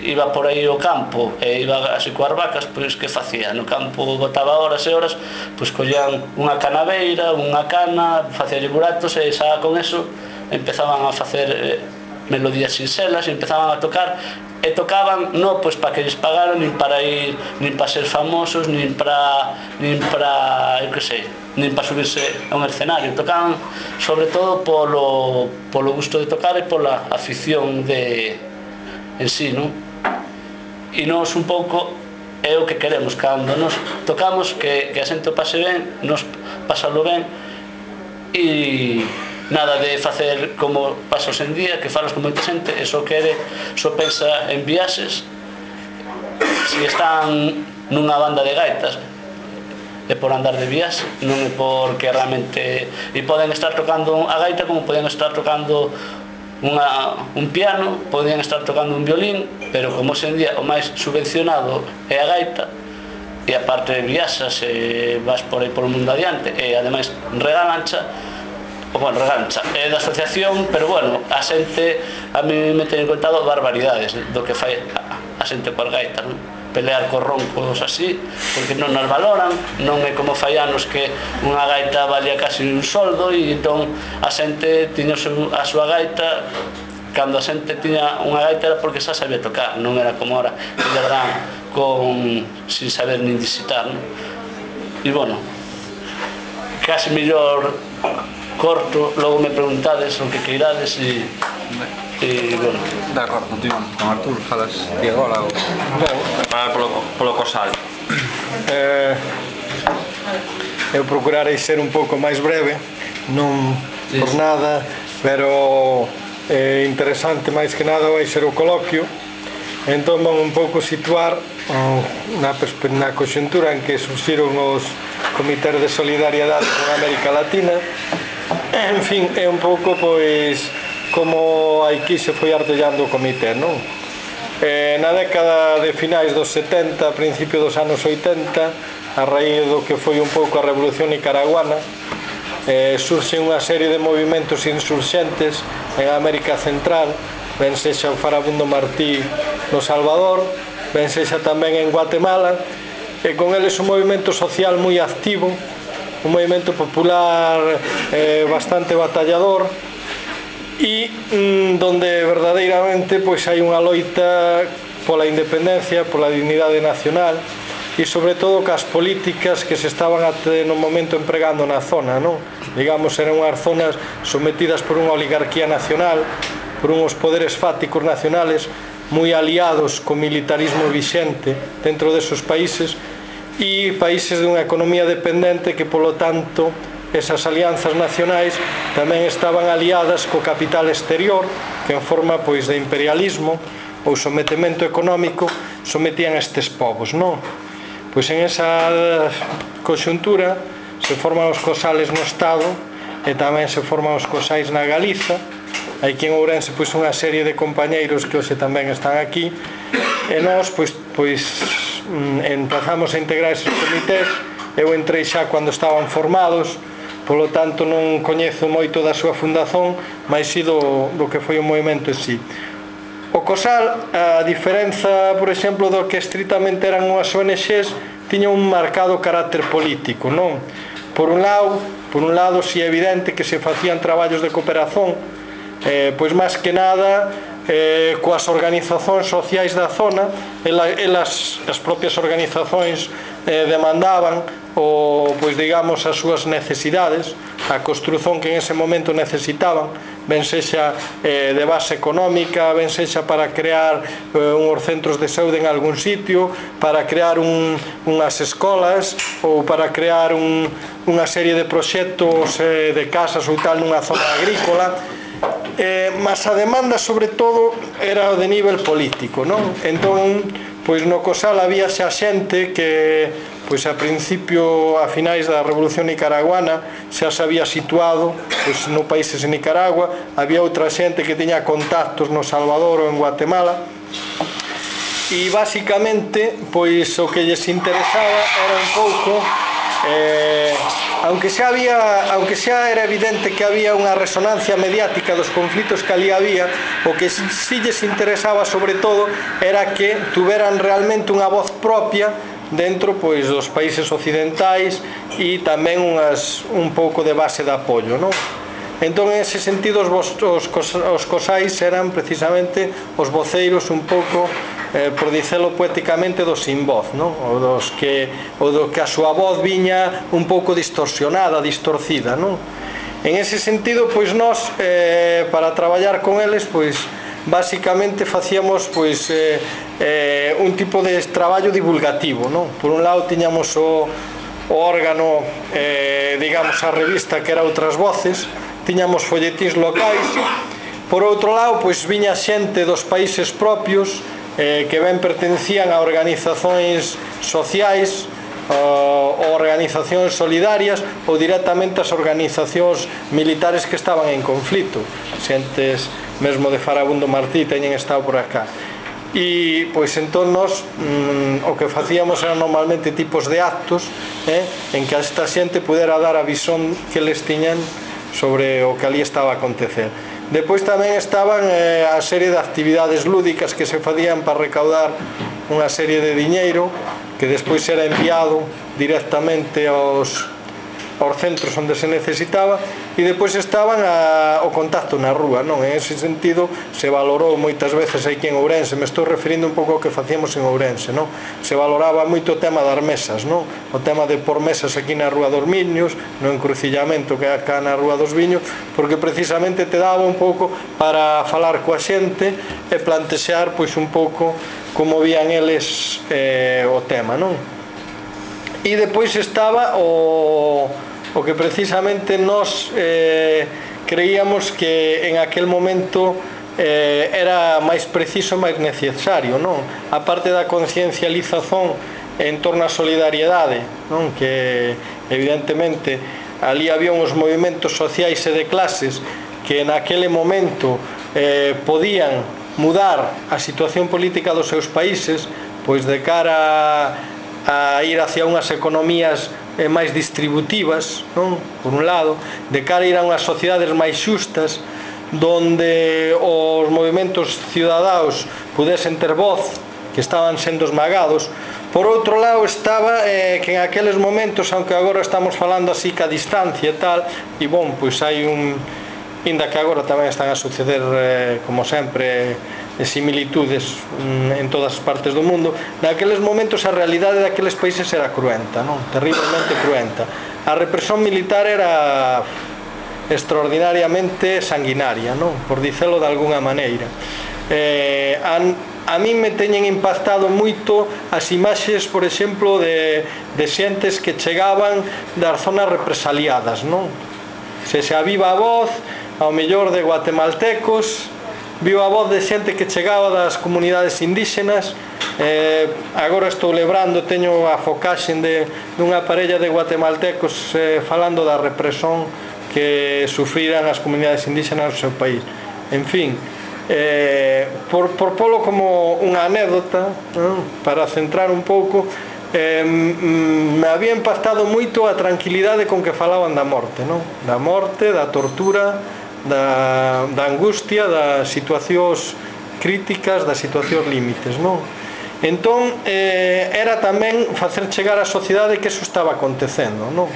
iba por aí o campo e iba así coas vacas, pois que facía? No campo botaba horas e horas, pois collían unha canaveira, unha cana, facíalle buratos e xa con eso empezaban a facer melodías sinxelas e empezaban a tocar, e tocaban non pois para que lles pagaran, nin para ir, nin para ser famosos, nin para eu que sei, nin para subirse a un escenario. Tocaban sobre todo polo gusto de tocar e pola afición en sí, non? E nós un pouco é o que queremos cando nos tocamos, que a xente o pase ben, nos pasalo ben, e nada de facer como pasa hoxe en día, que falas con moita xente e só pensa en viaxes, se están nunha banda de gaitas é por andar de viaxe, non é porque realmente, e poden estar tocando a gaita como poden estar tocando un piano, poden estar tocando un violín, pero como hoxe en día o máis subvencionado é a gaita, e aparte viaxas e vas por aí por o mundo adiante, e ademais regalancha, é da asociación, pero bueno, a xente a mí me teñen contado barbaridades do que fai a xente coas gaitas, non? Pelear cos roncos así, porque non nos valoran, non é como fai anos que unha gaita valía casi un soldo, e entón a xente tiña a súa gaita, cando a xente tiña unha gaita era porque xa sabía tocar, non era como ahora que lle dan sin saber nin disitar, non? E bueno, casi mellor corto, logo me preguntades o que queirades e bueno. De acordo, continuamos con Artur, falas ti agora ou falar polo Cosal. Eu procurarei ser un pouco máis breve, non por nada, pero interesante máis que nada vai ser o coloquio. Entón vamos un pouco situar na conxuntura en que surxiron os comités de solidariedade con América Latina. En fin, é un pouco pois como aquí se foi artellando o comité, non? Na década de finais dos 70, principio dos anos 80, a raíz do que foi un pouco a revolución nicaraguana, surxe unha serie de movimentos insurxentes en América Central, ben sexa o Farabundo Martí no Salvador, ben sexa tamén en Guatemala, e con eles un movimento social moi activo, un movimento popular bastante batallador, e donde verdadeiramente pois hai unha loita pola independencia, pola dignidade nacional, e sobre todo cas políticas que se estaban no momento empregando na zona, non? Digamos, eran unhas zonas sometidas por unha oligarquía nacional, por uns poderes fáticos nacionales moi aliados co militarismo vixente dentro desos países, e países dunha economía dependente que, polo tanto, esas alianzas nacionais tamén estaban aliadas co capital exterior, que en forma pois de imperialismo ou sometemento económico sometían estes povos, non? Pois en esa conxuntura se forman os cosales no Estado e tamén se forman os cosais na Galiza. Aquí en Ourense pois unha serie de compañeiros que hoxe tamén están aquí, e nós pois empezamos a integrar esos comités. Eu entrei xa cando estaban formados, polo tanto non coñezo moito da súa fundación, mas si do que foi o movimento en si. O Cosal, a diferenza, por exemplo, do que estritamente eran unhas ONGs, tiña un marcado carácter político, non? Por un lado, si é evidente que se facían traballos de cooperación, pois máis que nada coas organizacións sociais da zona. Elas, as propias organizacións demandaban pois digamos as súas necesidades, a construción que en ese momento necesitaban, ben sexa de base económica, ben sexa para crear uns centros de saúde en algún sitio, para crear unhas escolas, ou para crear unha serie de proxectos de casas ou tal nunha zona agrícola. Mas a demanda sobre todo era de nivel político, non? Entón, pois no Cosal había xa xente que pois a principio, a finais da Revolución Nicaraguana, xa se había situado pois no países de Nicaragua. Había outra xente que tiña contactos no Salvador ou en Guatemala, e basicamente pois o que lles interesaba era un pouco aunque xa era evidente que había unha resonancia mediática dos conflitos que ali había, o que si lles interesaba sobre todo era que tuveran realmente unha voz propia dentro pois dos países occidentais, e tamén un pouco de base de apoio, non? Entón, en ese sentido, os cosais eran precisamente os voceiros un pouco, por dicelo poéticamente, dos sin voz, non? O do que a súa voz viña un pouco distorsionada, distorcida, non? En ese sentido, pois nós, para traballar con eles, pois basicamente facíamos pois un tipo de traballo divulgativo, non? Por un lado tiñamos o órgano, digamos, a revista que era Outras Voces, tiñamos folletins locais. Por outro lado, pois viña xente dos países propios que ben pertencían a organizacións sociais ou organizacións solidarias, ou directamente as organizacións militares que estaban en conflito. Xentes mesmo de Farabundo Martí teñen estado por acá. E pois entón nós o que facíamos eran normalmente tipos de actos en que esta xente pudera dar a visón que les tiñan sobre o que ali estaba a acontecer. Depois tamén estaban a serie de actividades lúdicas que se facían para recaudar unha serie de diñeiro que despois era enviado directamente aos centros onde se necesitaba. e depois estaban o contacto na rúa, non? En ese sentido se valorou moitas veces aquí en Ourense, me estou referindo un pouco ao que facíamos en Ourense, non? Se valoraba moito o tema das mesas, non? O tema de por mesas aquí na Rúa dos Miños, no encrucillamento que é acá na Rúa dos Viños, porque precisamente te daba un pouco para falar coa xente e plantexar pois un pouco como vían eles o tema, non? E depois estaba o que precisamente nós creíamos que en aquel momento era máis preciso, máis necesario, non? A parte da conciencialización en torno á solidariedade, non? Que evidentemente ali había uns movimentos sociais e de clases que naquele momento podían mudar a situación política dos seus países, pois de cara a ir hacia unhas economías máis distributivas, non? Por un lado, de cara a ir a unhas sociedades máis xustas, donde os movimentos ciudadaos pudesen ter voz, que estaban sendo esmagados. Por outro lado estaba que en aqueles momentos, aunque agora estamos falando así que a distancia e tal, e bon, pois hai inda que agora tamén están a suceder como sempre similitudes en todas as partes do mundo, naqueles momentos a realidade daqueles países era cruenta, non? Terriblemente cruenta. A represión militar era extraordinariamente sanguinaria, non? Por dicelo de algunha maneira. A mí me teñen impactado moito as imaxes, por exemplo, de xentes que chegaban das zonas represaliadas, non? Se a viva voz, ao mellor de guatemaltecos, viva voz de xente que chegaba das comunidades indígenas. Agora estou lembrando, teño a focaxe dunha parella de guatemaltecos falando da represión que sufriran as comunidades indígenas no seu país. En fin, por polo como unha anécdota, para centrar un pouco, me había impactado moito a tranquilidade con que falaban da morte, non? Da morte, da tortura, da angustia, das situacións críticas, das situacións límites, non? Entón, era tamén facer chegar á sociedade que eso estaba acontecendo, non?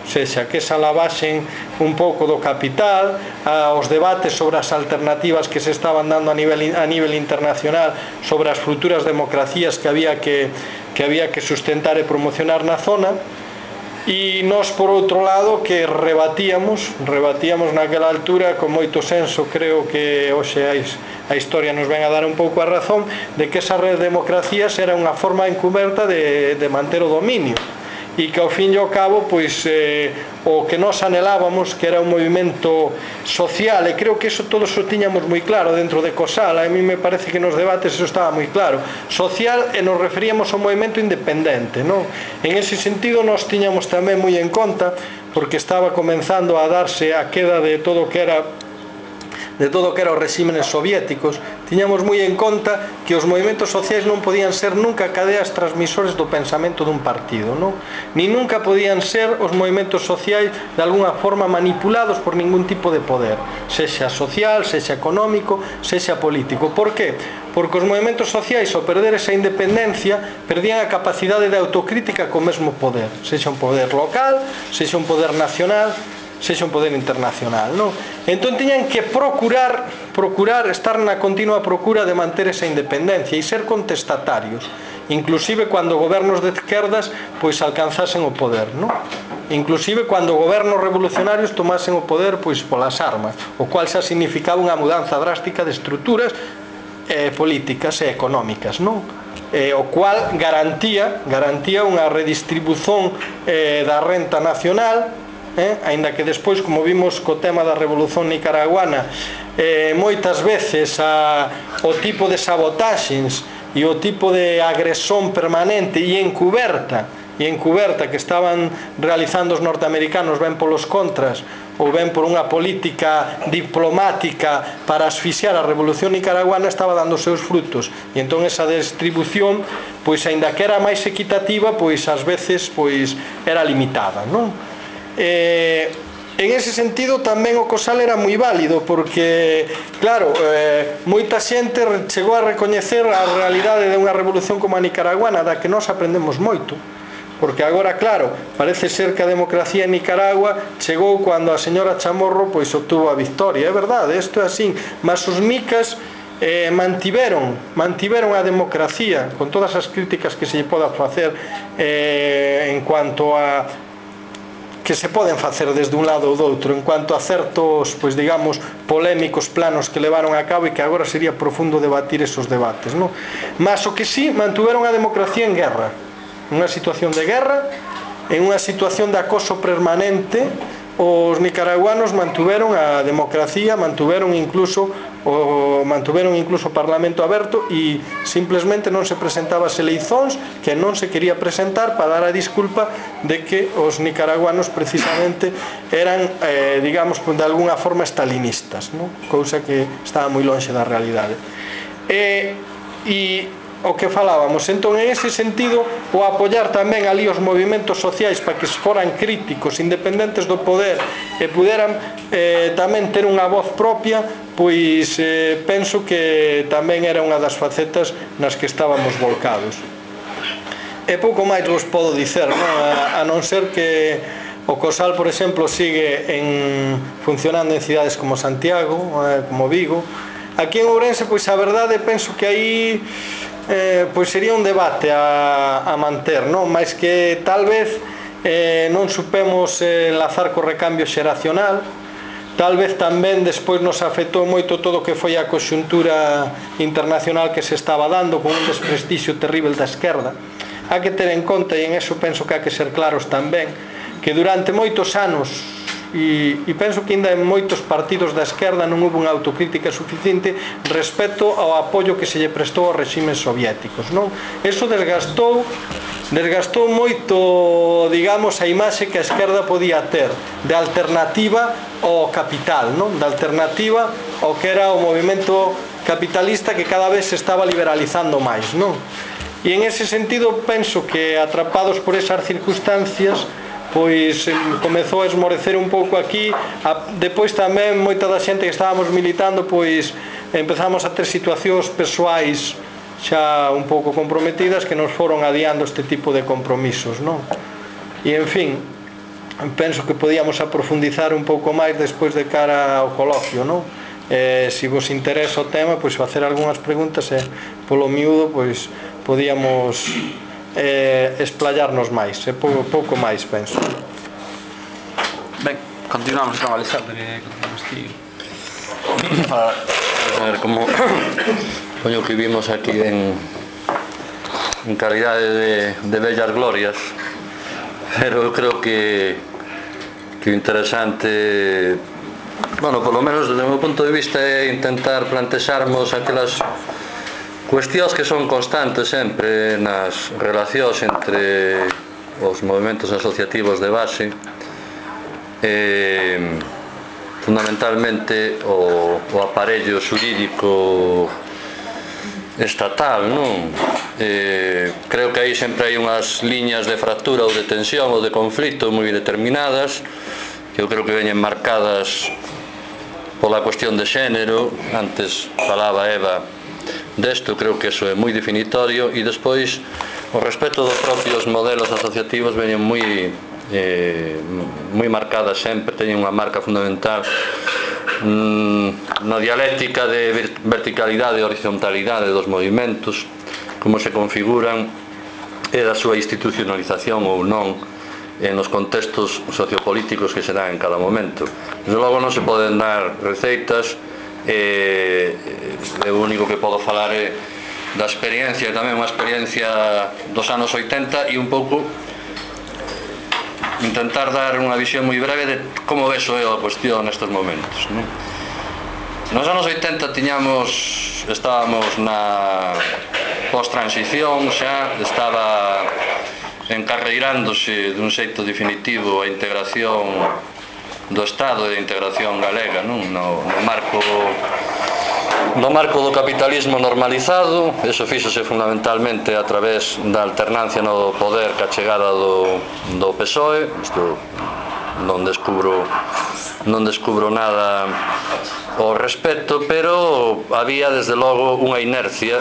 Sexa, que esa lavaxen un pouco do capital, aos debates sobre as alternativas que se estaban dando a nivel internacional sobre as futuras democracias que había que sustentar e promocionar na zona. E nós, por outro lado, que rebatíamos naquela altura con moito senso, creo que hoxe a historia nos ven a dar un pouco a razón de que esas democracias era unha forma encuberta de manter o dominio, e que ao fin e ao cabo pois o que nós anhelábamos, que era un movimento social, e creo que eso todos o tiñamos moi claro dentro de COSAL. A mí me parece que nos debates eso estaba moi claro, social, e nos referíamos ao movimento independente, non? En ese sentido nós tiñamos tamén moi en conta, porque estaba comenzando a darse a queda de todo o que era os regímenes soviéticos, tiñamos moi en conta que os movimentos sociais non podían ser nunca cadeas transmisores do pensamento dun partido, non? Ni nunca podían ser os movimentos sociais de alguna forma manipulados por ningún tipo de poder, sexa social, sexa económico, sexa político. Por qué? Porque os movimentos sociais, ao perder esa independencia, perdían a capacidade de autocrítica co mesmo poder, sexa un poder local, sexa un poder nacional, sexa un poder internacional, non? Entón tiñan que procurar estar na continua procura de manter esa independencia e ser contestatarios, inclusive cando gobernos de esquerdas pois alcanzasen o poder, non? Inclusive cando gobernos revolucionarios tomasen o poder pois polas armas, o cual xa significaba unha mudanza drástica de estruturas políticas e económicas, non? O cual garantía unha redistribución da renta nacional, aínda que despois, como vimos co tema da Revolución Nicaraguana, moitas veces o tipo de sabotaxes e o tipo de agresión permanente e encuberta que estaban realizando os norteamericanos, ben polos contras ou ben por unha política diplomática para asfixiar a Revolución Nicaraguana, estaba dando os seus frutos. E entón esa distribución, pois aínda que era máis equitativa, pois ás veces pois era limitada, non? En ese sentido tamén o COSAL era moi válido, porque claro, moita xente chegou a recoñecer a realidade de unha revolución como a nicaraguana, da que nós aprendemos moito, porque agora, claro, parece ser que a democracia en Nicaragua chegou cando a señora Chamorro pois obtuvo a victoria, é verdade, isto é así, mas os micas mantiveron a democracia con todas as críticas que se lle poda facer en cuanto a que se poden facer desde un lado ou do outro en cuanto a certos, pois digamos, polémicos planos que levaron a cabo e que agora sería profundo debatir esos debates, non? Mas o que sí, mantuveron a democracia en guerra, unha situación de guerra, en unha situación de acoso permanente. Os nicaraguanos mantuveron a democracia, mantuveron incluso o Parlamento aberto e simplesmente non se presentaba as eleicións que non se quería presentar para dar a disculpa de que os nicaraguanos precisamente eran, digamos, de alguna forma estalinistas, non? Cousa que estaba moi lonxe da realidade. E o que falábamos, entón, en ese sentido, o apoiar tamén ali os movimentos sociais para que foran críticos, independentes do poder e puderan tamén ter unha voz propia, pois penso que tamén era unha das facetas nas que estábamos volcados. E pouco máis vos podo dicer, non? A non ser que o COSAL, por exemplo, sigue funcionando en cidades como Santiago, como Vigo. Aquí en Ourense, pois a verdade, penso que aí pois sería un debate a manter, non? Mais que tal vez non supemos enlazar co recambio xeracional, tal vez tamén despois nos afectou moito todo o que foi a conxuntura internacional que se estaba dando con un desprestixio terrible da esquerda. Hai que ter en conta, e en eso penso que hai que ser claros tamén, que durante moitos anos e penso que ainda en moitos partidos da esquerda non houve unha autocrítica suficiente respecto ao apoio que se lle prestou aos reximes soviéticos, non? Eso desgastou moito, digamos, a imaxe que a esquerda podía ter de alternativa ao capital, non? De alternativa ao que era o movimento capitalista que cada vez se estaba liberalizando máis, non? E en ese sentido penso que atrapados por esas circunstancias pois comezou a esmorecer un pouco aquí. Depois tamén moita da xente que estábamos militando pois empezamos a ter situacións persoais xa un pouco comprometidas que nos foron adiando este tipo de compromisos, non? E en fin, penso que podíamos aprofundizar un pouco máis despois de cara ao coloquio, non? Se vos interesa o tema, pois facer algunhas preguntas e polo miúdo pois podíamos esplayarnos máis, pouco máis, penso. Ben, continuamos con Alexandre. A ver, como coño que vimos aquí en calidade de bellas glorias, pero eu creo que o interesante, bueno, polo menos desde o meu punto de vista, é intentar plantexarmos aquelas cuestións que son constantes sempre nas relacións entre os movimentos asociativos de base, fundamentalmente o aparello xurídico estatal, non? Creo que aí sempre hai unhas liñas de fractura ou de tensión ou de conflito moi determinadas, que eu creo que veñen marcadas pola cuestión de xénero. Antes falaba Eva desto, creo que eso é moi definitorio, e despois o respecto dos propios modelos asociativos veñen moi marcadas sempre, teñen unha marca fundamental na dialéctica de verticalidade e horizontalidade dos movimentos, como se configuran e da súa institucionalización ou non nos contextos sociopolíticos que se dan en cada momento. Desde logo non se poden dar receitas. O único que podo falar é da experiencia, tamén unha experiencia dos anos 80, e un pouco intentar dar unha visión moi breve de como veso eu a cuestión nestes momentos, non? Nos anos 80 estábamos na post-transición, xa estaba encarreirándose dun xeito definitivo a integración do Estado e da integración galega, non? No marco do capitalismo normalizado. Eso fíxose fundamentalmente a través da alternancia no poder ca chegada do PSOE. Isto non descubro nada ao respecto, pero había desde logo unha inercia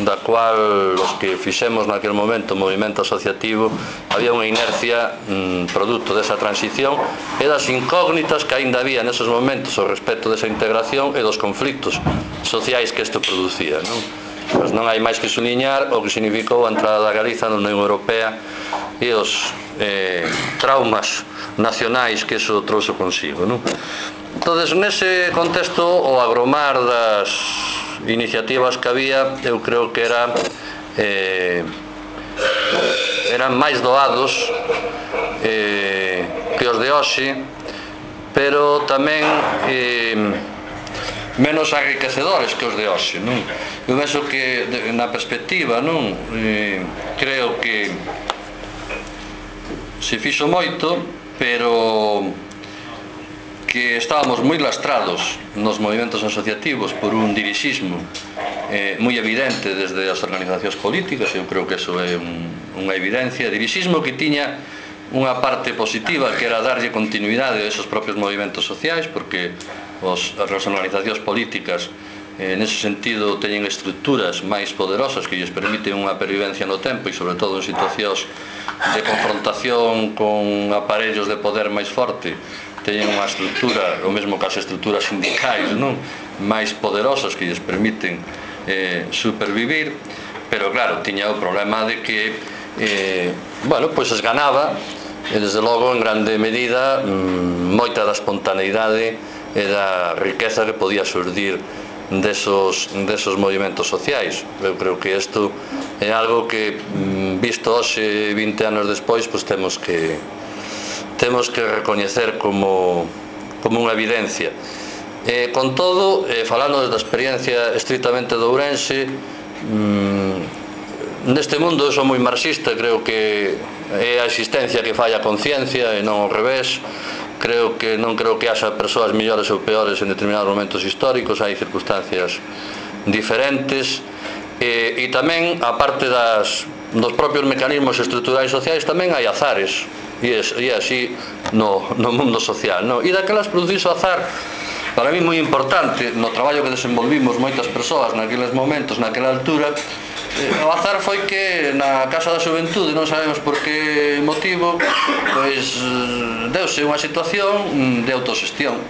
da cual os que fixemos naquele momento o movimento asociativo había unha inercia produto desa transición e das incógnitas que aínda había nesos momentos ao respecto desa integración e dos conflictos sociais que isto producía, non? Pois non hai máis que suliñar o que significou a entrada da Galiza na Unión Europea e os traumas nacionais que iso trouxe consigo, non? Entón, nese contexto, o agromar das iniciativas que había, eu creo que eran máis doados que os de hoxe, pero tamén menos enriquecedores que os de hoxe, non? Eu penso que na perspectiva, non? Creo que se fixo moito, pero que estábamos moi lastrados nos movimentos asociativos por un dirixismo moi evidente desde as organizacións políticas. Eu creo que eso é unha evidencia, dirixismo que tiña unha parte positiva, que era darlle continuidade a esos propios movimentos sociais, porque as organizacións políticas nese sentido teñen estructuras máis poderosas que lles permiten unha pervivencia no tempo e sobre todo en situacións de confrontación con aparellos de poder máis forte, teñen unha estructura, o mesmo que as estructuras sindicais, non? Máis poderosas que lles permiten supervivir, pero claro, tiña o problema de que pois esganaba e desde logo en grande medida moita da espontaneidade e da riqueza que podía surdir desos movimentos sociais. Eu creo que isto é algo que visto hoxe 20 anos despois, pois temos que recoñecer como unha evidencia. Con todo, falando da experiencia estritamente de Ourense, neste mundo eu sou moi marxista, creo que é a existencia que falla a conciencia e non ao revés. Non creo que haxa persoas mellores ou peores en determinados momentos históricos, hai circunstancias diferentes, e tamén, a parte dos propios mecanismos estruturais sociais, tamén hai azares, e así no mundo social, non? E daquelas produciso azar, para mí moi importante, no traballo que desenvolvimos moitas persoas naqueles momentos, naquela altura. O azar foi que na Casa da Xuventude, non sabemos por que motivo, pois deuse unha situación de autoxestión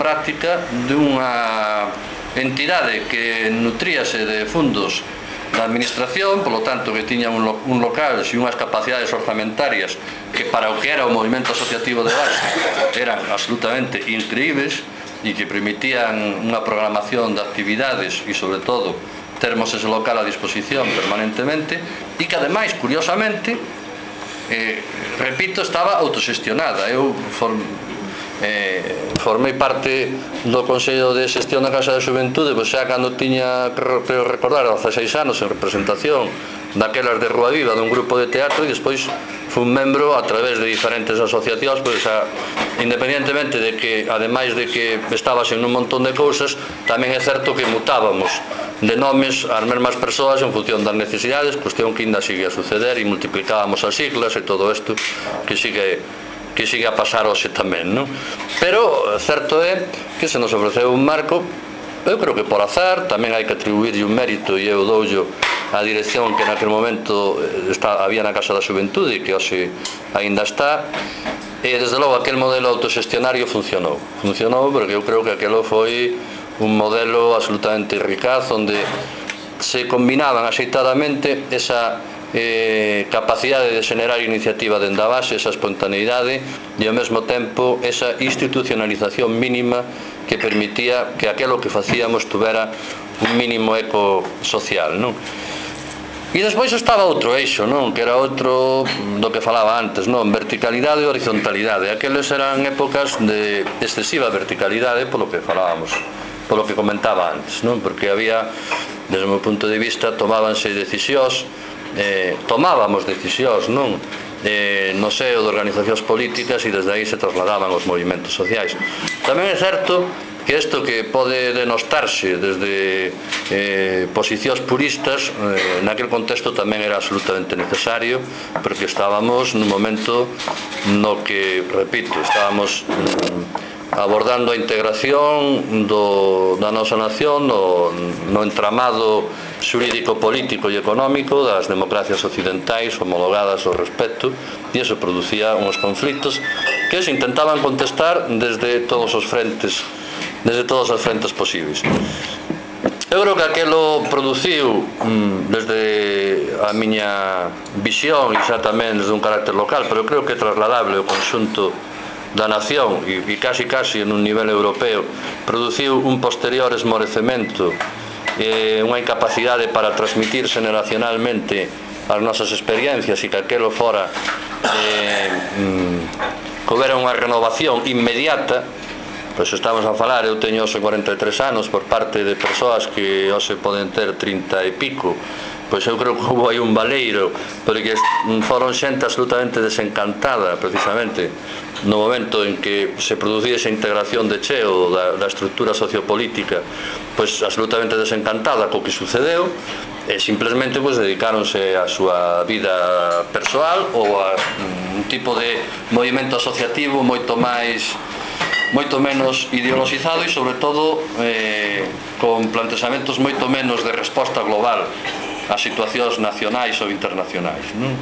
práctica dunha entidade que nutríase de fundos da administración, polo tanto que tiña un local e unhas capacidades orzamentarias que para o que era o movimento asociativo de base eran absolutamente increíbles e que permitían unha programación de actividades e sobre todo termos ese local a disposición permanentemente e que ademais, curiosamente, repito, estaba autoxestionada. Eu formei parte do Consello de Xestión da Casa da Xuventude, pois xa cando tiña, creo recordar, 16 anos en representación daquelas de Rúa Viva, dun grupo de teatro, e despois fui un membro a través de diferentes asociacións, pois independentemente de que, ademais de que estabas en un montón de cousas, tamén é certo que mutábamos de nomes ás mesmas persoas en función das necesidades, cuestión que ainda sigue a suceder, e multiplicábamos as siglas e todo isto que sigue a pasar hoxe tamén, non? Pero certo é que se nos ofreceu un marco, eu creo que por azar, tamén hai que atribuirlle un mérito, e eu doullo a dirección que naquele momento había na Casa da Xuventude e que hoxe aínda está, e desde logo aquel modelo autoxestionario funcionou porque eu creo que aquelo foi un modelo absolutamente eficaz onde se combinaban axeitadamente esa capacidade de xenerar iniciativa dende a base, esa espontaneidade e ao mesmo tempo esa institucionalización mínima que permitía que aquelo que facíamos tuvera un mínimo eco social, non? E despois estaba outro eixo, non? Que era outro do que falaba antes, non? Verticalidade e horizontalidade. Aqueles eran épocas de excesiva verticalidade polo que falábamos, polo que comentaba antes, non? Porque había, desde o meu punto de vista, tomábamos decisións, non? No seo de organizacións políticas e desde aí se trasladaban os movimentos sociais. Tamén é certo que isto que pode denostarse desde posicións puristas, naquele contexto tamén era absolutamente necesario, porque estábamos nun momento no que, repito, estábamos abordando a integración da nosa nación no entramado xurídico-político e económico das democracias occidentais homologadas ao respecto, e eso producía uns conflitos que se intentaban contestar desde todas as frentes posibles. Eu creo que aquelo produciu, desde a miña visión e xa tamén desde un carácter local, pero creo que é trasladable ao conxunto da nación e casi en un nivel europeo, produciu un posterior esmorecemento, unha incapacidade para transmitir xeneracionalmente as nosas experiencias, e que aquelo fora que houbera unha renovación inmediata. Pois estamos a falar, eu teño hoxe 43 anos, por parte de persoas que hoxe poden ter 30 e pico, pois eu creo que houve aí un baleiro, porque foron xente absolutamente desencantada, precisamente, no momento en que se producía esa integración de cheo da estructura sociopolítica, pois absolutamente desencantada co que sucedeu, e simplemente pois dedicáronse a súa vida persoal ou a un tipo de movimento asociativo moito menos ideologizado e, sobre todo, con plantexamentos moito menos de resposta global ás situacións nacionais ou internacionais, non?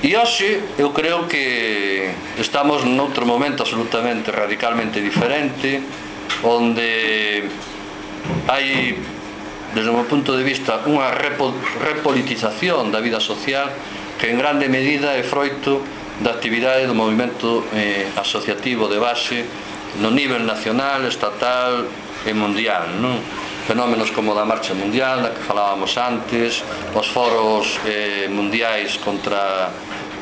E hoxe eu creo que estamos noutro momento absolutamente radicalmente diferente, onde hai, desde o meu punto de vista, unha repolitización da vida social que en grande medida é froito da actividade do movimento asociativo de base no nivel nacional, estatal e mundial, non? Fenómenos como da Marcha Mundial, da que falábamos antes, os foros mundiais contra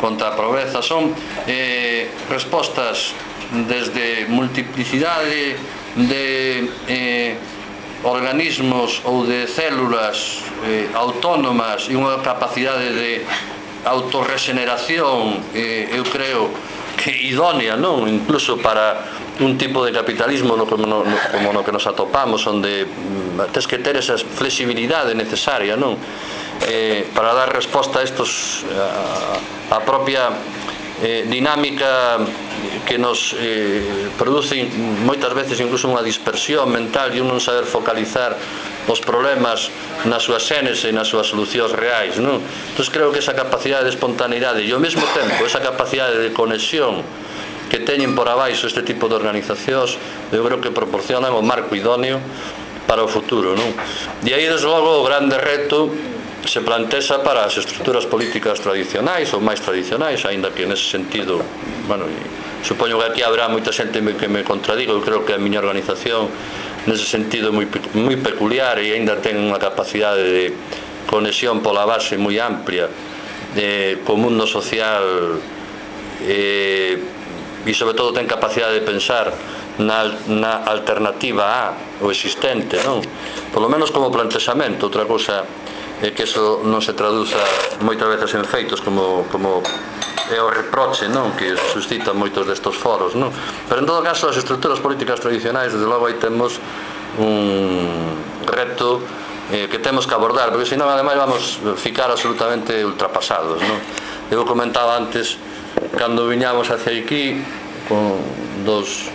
a pobreza, son respostas desde multiplicidade de organismos ou de células autónomas e unha capacidade de autorregeneración, eu creo que idónea, non? Incluso para un tipo de capitalismo como no que nos atopamos, onde tens que ter esa flexibilidade necesaria, non? Para dar resposta a estos, a propia dinámica que nos produce moitas veces incluso unha dispersión mental e un non saber focalizar os problemas na súa xénese e nas súas solucións reais, non? Entón creo que esa capacidade de espontaneidade e ao mesmo tempo esa capacidade de conexión que teñen por abaixo este tipo de organizacións, eu creo que proporcionan o marco idóneo para o futuro, non? E aí, desde logo, o grande reto se plantexa para as estruturas políticas tradicionais ou máis tradicionais, aínda que nese sentido, bueno, supoño que aquí habrá moita xente que me contradiga. Eu creo que a miña organización nese sentido moi peculiar e aínda ten unha capacidade de conexión pola base moi amplia co mundo social e sobre todo ten capacidade de pensar na alternativa a o existente, non? Por lo menos como plantexamento. Outra cousa é que eso non se traduza moitas veces en feitos como é o reproche, non? Que suscitan moitos destos foros, non? Pero en todo caso as estruturas políticas tradicionais, desde logo aí temos un reto que temos que abordar, porque senón ademais vamos ficar absolutamente ultrapasados, non? Eu comentaba antes, cando viñamos hacia aquí con dos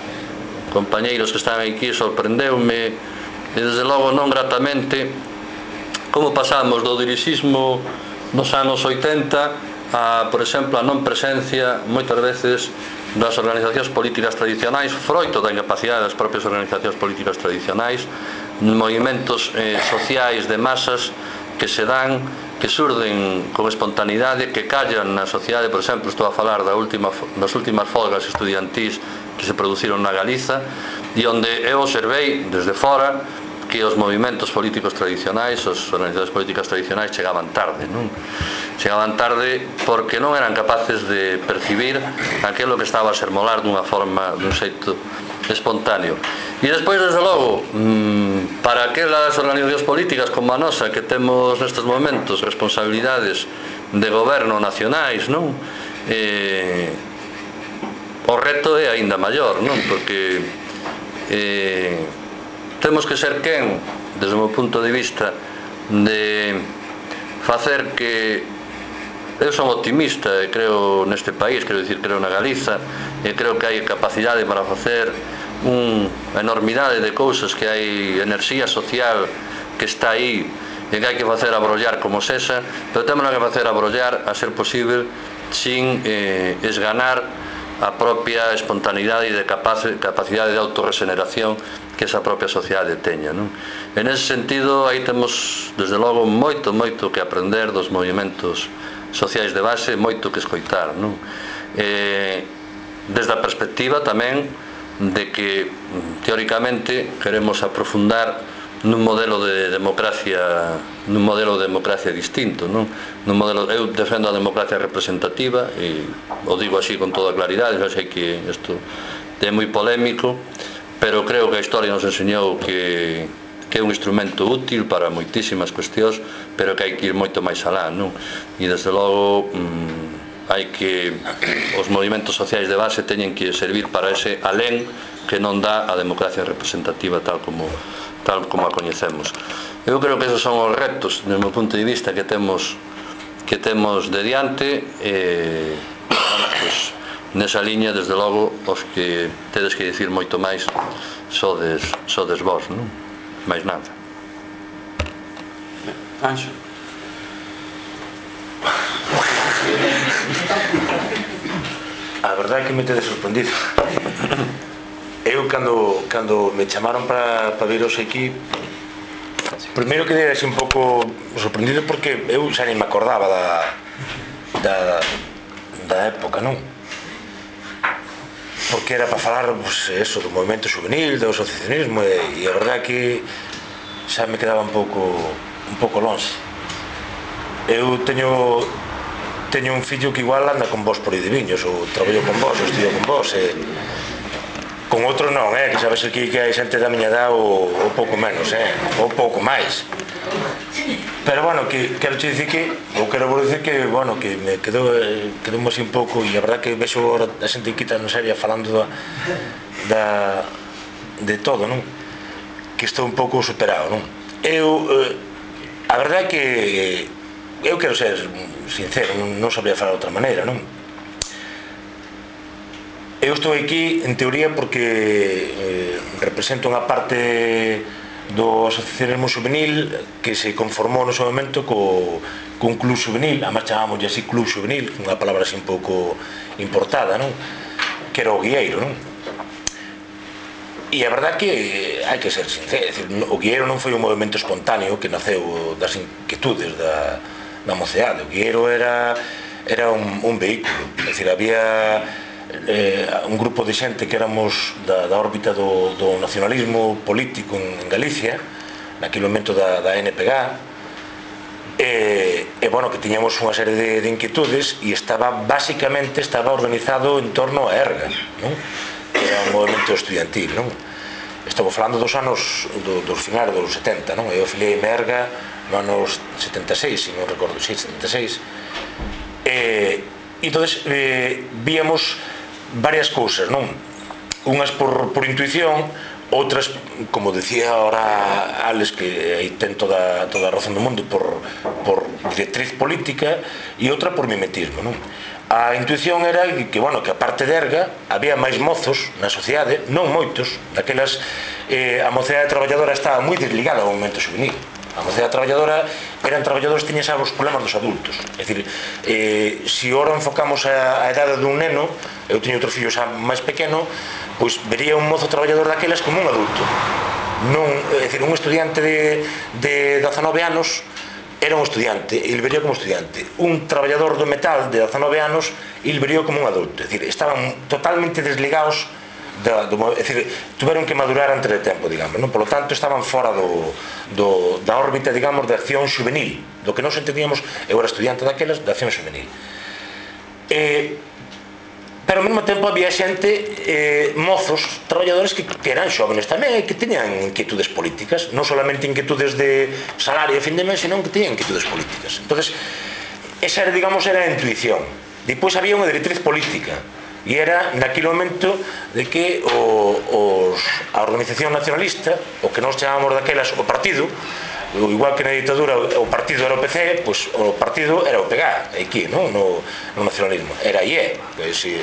compañeiros que estaban aquí, sorprendeume e desde logo non gratamente como pasamos do dirixismo nos anos 80 a, por exemplo, a non presencia moitas veces das organizacións políticas tradicionais, froito da incapacidade das propias organizacións políticas tradicionais, movimentos sociais de masas que se dan, que surden con espontaneidade, que callan na sociedade. Por exemplo, estou a falar das últimas folgas estudiantís que se produciron na Galiza, e onde eu observei desde fora que os movimentos políticos tradicionais, as organizacións políticas tradicionais chegaban tarde, non? Chegaban tarde porque non eran capaces de percibir aquilo que estaba a sermolar dunha forma, dun xeito espontáneo. E despois, desde logo, para aquelas organizacións políticas como a nosa, que temos nestes momentos responsabilidades de goberno nacionais, non? O reto é aínda maior, non? Porque temos que ser quen, desde o meu punto de vista, de facer que eu son optimista e creo neste país, quero dicir, creo na Galiza, e creo que hai capacidade para facer unha enormidade de cousas, que hai enerxía social que está aí e que hai que facer abrollar como sexa, pero temos que facer abrollar a ser posible sin esganar a propia espontaneidade e de capacidade de autorregeneración que esa propia sociedade teña, non? En ese sentido, aí temos, desde logo, moito que aprender dos movimentos sociais de base, moito que escoitar, non? Desde a perspectiva tamén de que, teóricamente, queremos aprofundar nun modelo de democracia distinto, non? Eu defendo a democracia representativa e o digo así con toda claridade, xa sei que isto é moi polémico, pero creo que a historia nos enseñou que é un instrumento útil para moitísimas cuestións, pero que hai que ir moito máis alá, non? E desde logo hai que os movimentos sociais de base teñen que servir para ese alén que non dá a democracia representativa tal como a coñecemos. Eu creo que esos son os retos, do meu punto de vista, que temos de diante, pois, nesa liña, desde logo, os que tedes que dicir moito máis sodes vós, non? Máis nada. Anxo. A verdade é que me tedes sorprendido. Eu, cando me chamaron para vir hoxe aquí, primeiro quedei así un pouco sorprendido porque eu xa nem me acordaba da época, non? Porque era para falar, pues, eso, do movimento juvenil, do asociacionismo, e a verdade é que xa me quedaba un pouco longe. Eu teño un fillo que igual anda con vos por aí de viños, ou traballo con vos, ou estudio con vos, con outro non, que sabes aquí que hai xente da miña edad ou pouco menos, ou pouco máis. Pero, bueno, que quero che dicir que, ou quero vos dicir que, bueno, que me quedou así un pouco, e a verdad que vexo agora a xente que está na serie falando de todo, non? Que estou un pouco superado, non? A verdade é que eu quero ser sincero, non sabría falar de outra maneira, non? Eu estou aquí, en teoría, porque represento unha parte do asociacionismo juvenil que se conformou no seu momento cun club juvenil, además chamámoslle así club juvenil, unha palabra así un pouco importada, non? Que era o Guieiro, non? E a verdade que hai que ser sincero, é dicir, o Guieiro non foi un movimento espontáneo que naceu das inquietudes da mocidade. O Guieiro era un vehículo, é dicir, había un grupo de xente que éramos da órbita do nacionalismo político en Galicia, naquele momento da NPG, bueno, que tiñamos unha serie de inquietudes e basicamente estaba organizado en torno a ERGA, non? Era un movimento estudiantil, non? Estamos falando dos anos dos finais dos 70, non? Eu afiliei a ERGA no anos 76, se non recordo, 76. Entonces víamos varias cousas, non? Unhas por intuición, outras, como decía ahora Alex, que aí ten toda a razón do mundo, por directriz política, e outra por mimetismo, non? A intuición era que, bueno, que a parte de ERGA había máis mozos na sociedade, non moitos, daquelas, a mocidade traballadora estaba moi desligada ao movimento juvenil. A mocidade traballadora eran traballadores que tiñan xa os problemas dos adultos. É dicir, se ora enfocamos a edade dun neno, eu teño outro fillo xa máis pequeno, pois vería un mozo traballador daquelas como un adulto. É dicir, un estudiante de 19 anos era un estudiante, e ele vería como estudiante. Un traballador do metal de 19 anos, ele vería como un adulto. É dicir, estaban totalmente desligados, é dicir, tuveron que madurar antes de tempo, digamos, non? Por lo tanto, estaban fora da órbita, digamos, de acción juvenil, do que nos entendíamos. Eu era estudiante daquelas, de acción juvenil. Pero ao mesmo tempo había xente, mozos, traballadores que eran xóvenes tamén, que teñan inquietudes políticas, non solamente inquietudes de salario a fin de mes, senón que teñan inquietudes políticas. Entonces, esa era, digamos, era a intuición. Depois había unha directriz política, e era naquele momento de que a organización nacionalista, o que nós chamábamos daquelas o partido, igual que na ditadura o partido era o PC, pois o partido era o PG, aquí, non? No nacionalismo, era IE,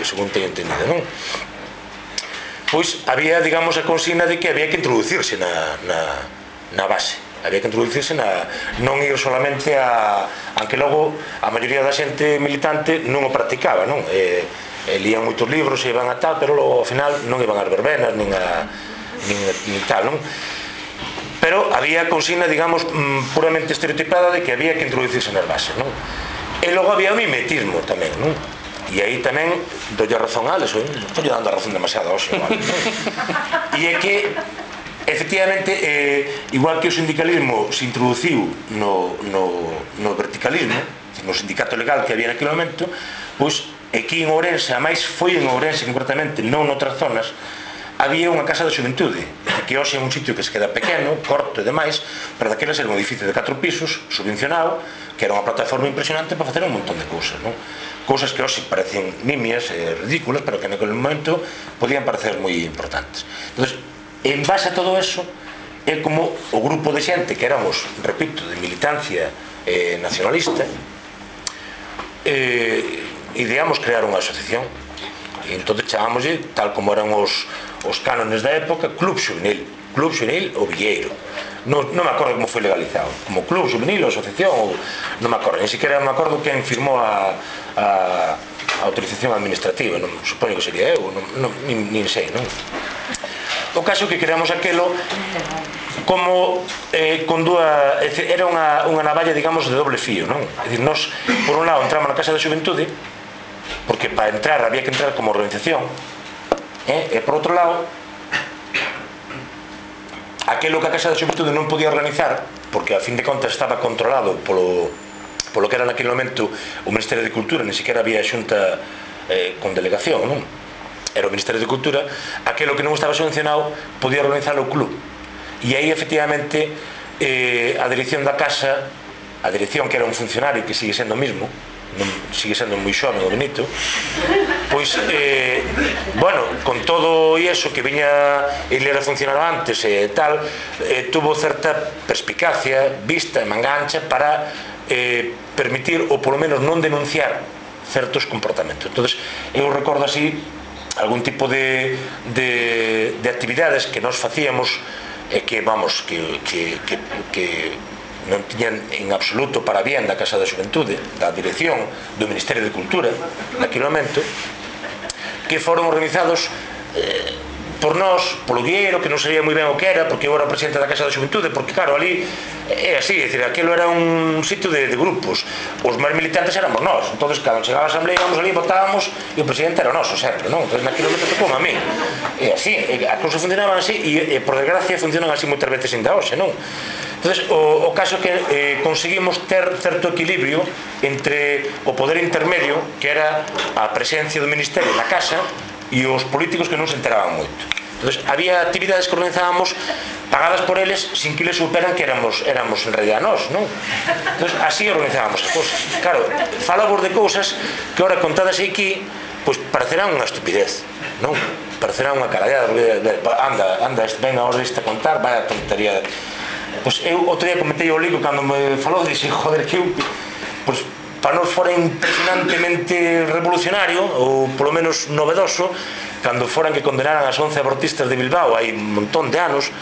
según teño entendido, non? Pois había, digamos, a consigna de que había que introducirse na base. había que introducirse non ir solamente a... aunque logo a maioría da xente militante non o practicaba, non? Lían moitos libros e iban a tal, pero logo ao final non iban ás verbenas nin tal, non? Pero había consigna, digamos, puramente estereotipada de que había que introducirse nas bases, non? E logo había o mimetismo tamén, non? E aí tamén dolle razón a Alex, estou dando a razón demasiado hoxe, non? E é que efectivamente, igual que o sindicalismo se introduciu no verticalismo, no sindicato legal que había naquele momento, pois aquí en Ourense, a máis foi en Ourense concretamente, non noutras zonas, había unha casa de xuventude, que hoxe é un sitio que se queda pequeno, corto e demais, pero daquelas era un edificio de 4 pisos, subvencionado, que era unha plataforma impresionante para facer un montón de cousas, non? Cousas que hoxe parecen nimias e ridículas, pero que naquele momento podían parecer moi importantes. Entón, en base a todo eso, é como o grupo de xente que éramos, repito, de militancia nacionalista, ideamos crear unha asociación. E entón chamámoslle, tal como eran os cánones da época, Club Xuvenil o Villeiro. Non me acordo como foi legalizado, como Club Xuvenil ou asociación, ou non me acordo, ni siquiera me acordo quen firmou a autorización administrativa, non supoño que sería eu, nin sei, non? O caso que creamos aquelo como con dúa, era unha navalla, digamos, de doble fío, non? É dicir, nós, por un lado, entramos na Casa da Xuventude, porque para entrar había que entrar como organización, e por outro lado, aquilo que a Casa da Xuventude non podía organizar, porque a fin de contas estaba controlado polo que era naquele momento o Ministerio de Cultura, ni siquiera había xunta con delegación, non? Era o Ministerio de Cultura, aquilo que non estaba subvencionado podía organizar o club. E aí, efectivamente, a dirección da casa, a dirección que era un funcionario que sigue sendo o mismo, sigue sendo moi xoven o Benito, pois, bueno, con todo iso que viña ele era funcionario antes e tal, tuvo certa perspicacia, vista e mangancha para permitir, ou polo menos non denunciar certos comportamentos. Entón, eu recordo así algún tipo de actividades que nós facíamos que, vamos, que non tiñan en absoluto para bien da Casa da Xuventude, da dirección do Ministerio de Cultura naquele momento, que foron organizados por nós, polo Vieiro, que non sabía moi ben o que era, porque eu era o presidente da Casa da Xuventude, porque claro, ali é así, é dicir, aquilo era un sitio de grupos, os máis militantes éramos nós, entón, cando chegaba a asamblea íbamos ali, votábamos, e o presidente era noso sempre, non? Entón, naquele momento tocou a mí, e así, a cousa funcionaban así, e por desgracia funcionan así moitas veces ainda hoxe, non? Entón, o caso é que conseguimos ter certo equilibrio entre o poder intermedio, que era a presencia do Ministerio na casa, e os políticos que non se enteraban moito. Entón, había actividades que organizábamos pagadas por eles sin que eles superan que éramos en realidad nós, non? Entón, así organizábamos as cousas. Claro, falamos de cousas que ahora contadas aquí, pois parecerán unha estupidez, non? Parecerán unha carallada, anda, ven a hora deste a contar, vaya tontería. Pois eu outro día comentei ao Lico cando me falou, dixen, joder, que eu, pois, para nos fora impresionantemente revolucionario ou polo menos novedoso cando foran que condenaran as 11 abortistas de Bilbao hai un montón de anos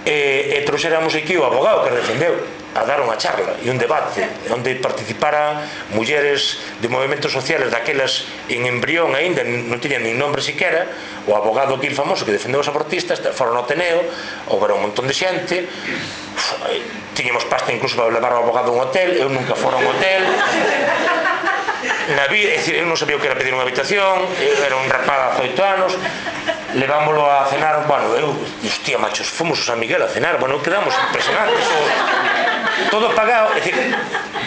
e trouxéramos aquí o abogado que defendeu a dar unha charla e un debate onde participaran mulleres de movimentos sociales daquelas en embrión aínda, non tiñan nin nombre siquera, o abogado aquí famoso que defendeu os abortistas, foron ao Ateneo, houve un montón de xente, tiñamos pasta incluso para levar o abogado a un hotel, eu nunca fora a un hotel, na vida, é dicir, eu non sabía o que era pedir unha habitación, eu era un rapaz de 8 anos, levámoslo a cenar, bueno, eu, hostia, machos, fomos a San Miguel a cenar, bueno, quedamos impresionantes, todo pagado, é dicir,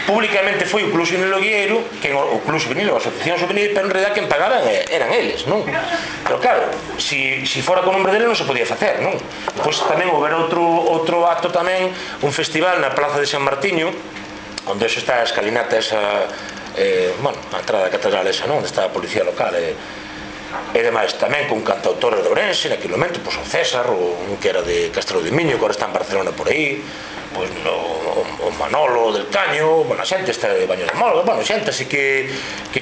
públicamente foi o Club Xuvenil Vieiro, o Club Xuvenil, a Asociación Xuvenil, pero en realidad quen pagaban eran eles, non? Pero claro, si fora con nombre dele non se podía facer, non? Pois tamén houve outro acto tamén, un festival na Plaza de San Martiño, onde eso está a escalinata esa, bueno, a entrada da catedral esa, non? Onde está a policía local e demais, tamén con cantautores de Ourense naquele momento, pois o César, un que era de Castelo de Miño, que agora está en Barcelona por aí, pois o Manolo del Caño, bueno, a xente está de Baño de Molga, bueno, xente así que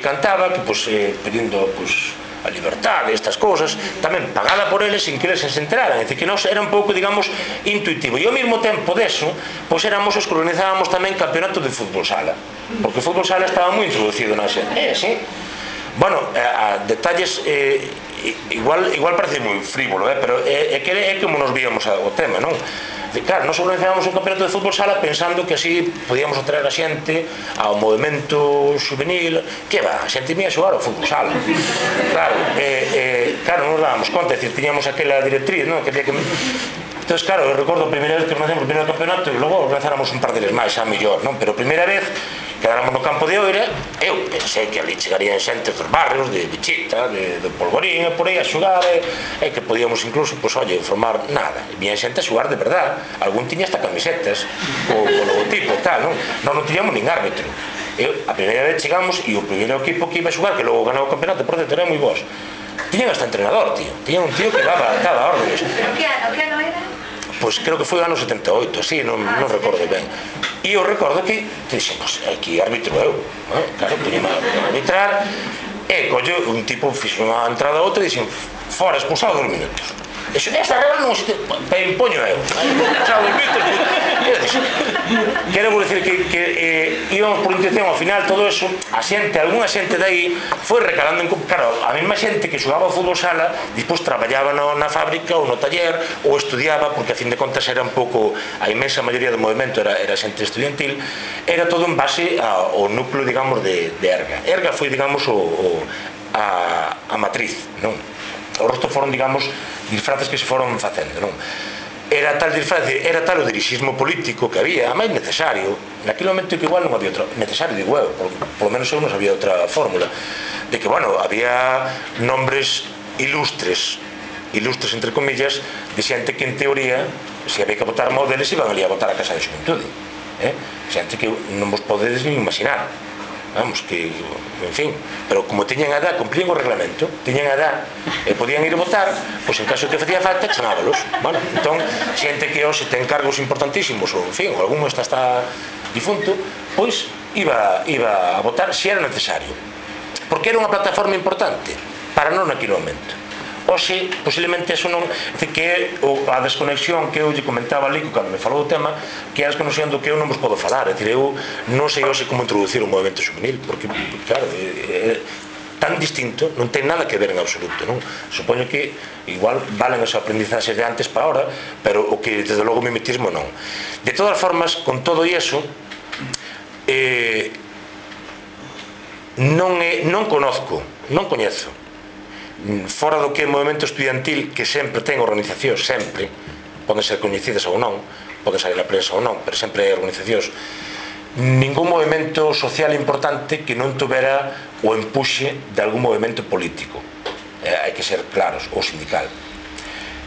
cantaba, que pois pedindo pois a Libertad, estas cousas, tamén pagada por eles sin que eles se enteraran. É dicir, que nos era un pouco, digamos, intuitivo. E ao mesmo tempo deso, pois éramos os que organizábamos tamén campeonato de fútbol sala, porque o fútbol sala estaba moi introducido na xente. Sí. Bueno, a detalles igual parece moi frívolo, pero é como nos víamos o tema, non? Claro, nos organizábamos un campeonato de fútbol sala pensando que así podíamos atraer a xente ao movimento juvenil. Que va, a xente mía xogar ao fútbol sala. Claro, non nos dábamos conta, é dicir, tiñamos aquela directriz, non? Que entón, claro, eu recordo a primeira vez que organizamos o primeiro campeonato e logo organizáramos un par deles máis, xa mellor, non? Pero a primeira vez quedáramos no campo de Oira, eu pensei que ali chegarían xente dos barrios, de Chita, de Polvorín, e por aí a xogar, e que podíamos incluso, pois, oye, formar nada. E vinha xente a xogar de verdad, algún tiña hasta camisetas, o logotipo e tal, non? Non tiñamos nin árbitro. A primeira vez chegamos e o primeiro equipo que iba a xogar, que logo ganou o campeonato, por certo, era moi vos. Tiñan hasta entrenador, tío. Tiñan un tío que daba órdenes. Que ano era? Pois creo que foi o ano 78, así, non recordo ben. E eu recordo que dixen, pois aquí árbitro eu, claro, poñeme a arbitrar, e collo un tipo fixo unha entrada a outra e dixen, fora, expulsado 2 minutos. Esa regla non se impoño eu. Expulsado 2 minutos. Quero dicir que íbamos por intención, ao final todo eso, algunha xente dai foi recalando, claro, a mesma xente que xogaba ao fútbol sala, despois traballaba na fábrica ou no taller, ou estudiaba, porque a fin de contas era un pouco, a inmensa maioría do movimento era xente estudiantil, era todo en base ao núcleo, digamos, de Erga. Erga foi, digamos, a matriz, non? O resto foron, digamos, disfraces que se foron facendo, non? Era tal disfrace, era tal o dirixismo político que había, a máis necesario, naquele momento que igual non había outro, necesario, digo eu, por lo menos eu non sabía outra fórmula, de que, bueno, había nombres ilustres entre comillas, de xente que en teoría, se había que votar mal deles, iban ali a votar a Casa de Xuventude, xente que non vos podedes nin imaginar. Vamos, que, en fin, pero como tiñan a edad, cumplían o reglamento, tiñan a edad e podían ir a votar, pois en caso que facía falta, chamábalos. Bueno, entón, xente que hoxe ten cargos importantísimos, ou en fin, ou algún está difunto, pois iba a votar se era necesario. Porque era unha plataforma importante para non naquele momento. Hoxe, posiblemente, eso non... que é a desconexión que eu lle comentaba ali cando me falou do tema, que é a desconexión do que eu non vos podo falar. É dicir, eu non sei hoxe como introducir un movimento juvenil, porque, claro, é tan distinto, non ten nada que ver en absoluto, non? Supoño que igual valen as aprendizaxes de antes para ahora, pero o que, desde logo, o mimetismo non. De todas formas, con todo iso, non coñezo, fora do que é movimento estudiantil, que sempre ten organizacións, sempre, poden ser coñecidas ou non, poden salir na prensa ou non, pero sempre hai organizacións, ningún movimento social importante que non tuvera o empuxe de algún movimento político, hai que ser claros, ou sindical.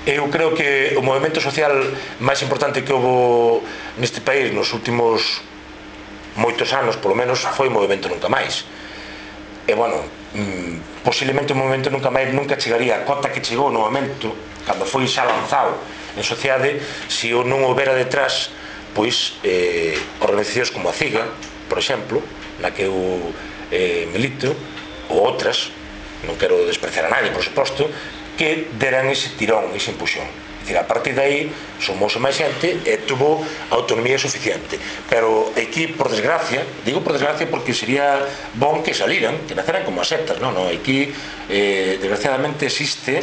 Eu creo que o movimento social máis importante que houve neste país nos últimos moitos anos, polo menos, foi o movimento Nunca Máis. E, bueno, posiblemente o movimento Nunca chegaría a cota que chegou no momento, cando foi xa lanzado en sociedade, se o non houbera detrás, pois, organizacións como a CIGA, por exemplo, na que eu milito, ou outras, non quero despreciar a nadie, por suposto, que deran ese tirón, ese empuxón. É dicir, a partir de aí, somos máis xente e tuvo autonomía suficiente. Pero aquí, por desgracia, digo por desgracia porque sería bon que saliran, que naceran como as sectas, non? Aquí, desgraciadamente, existe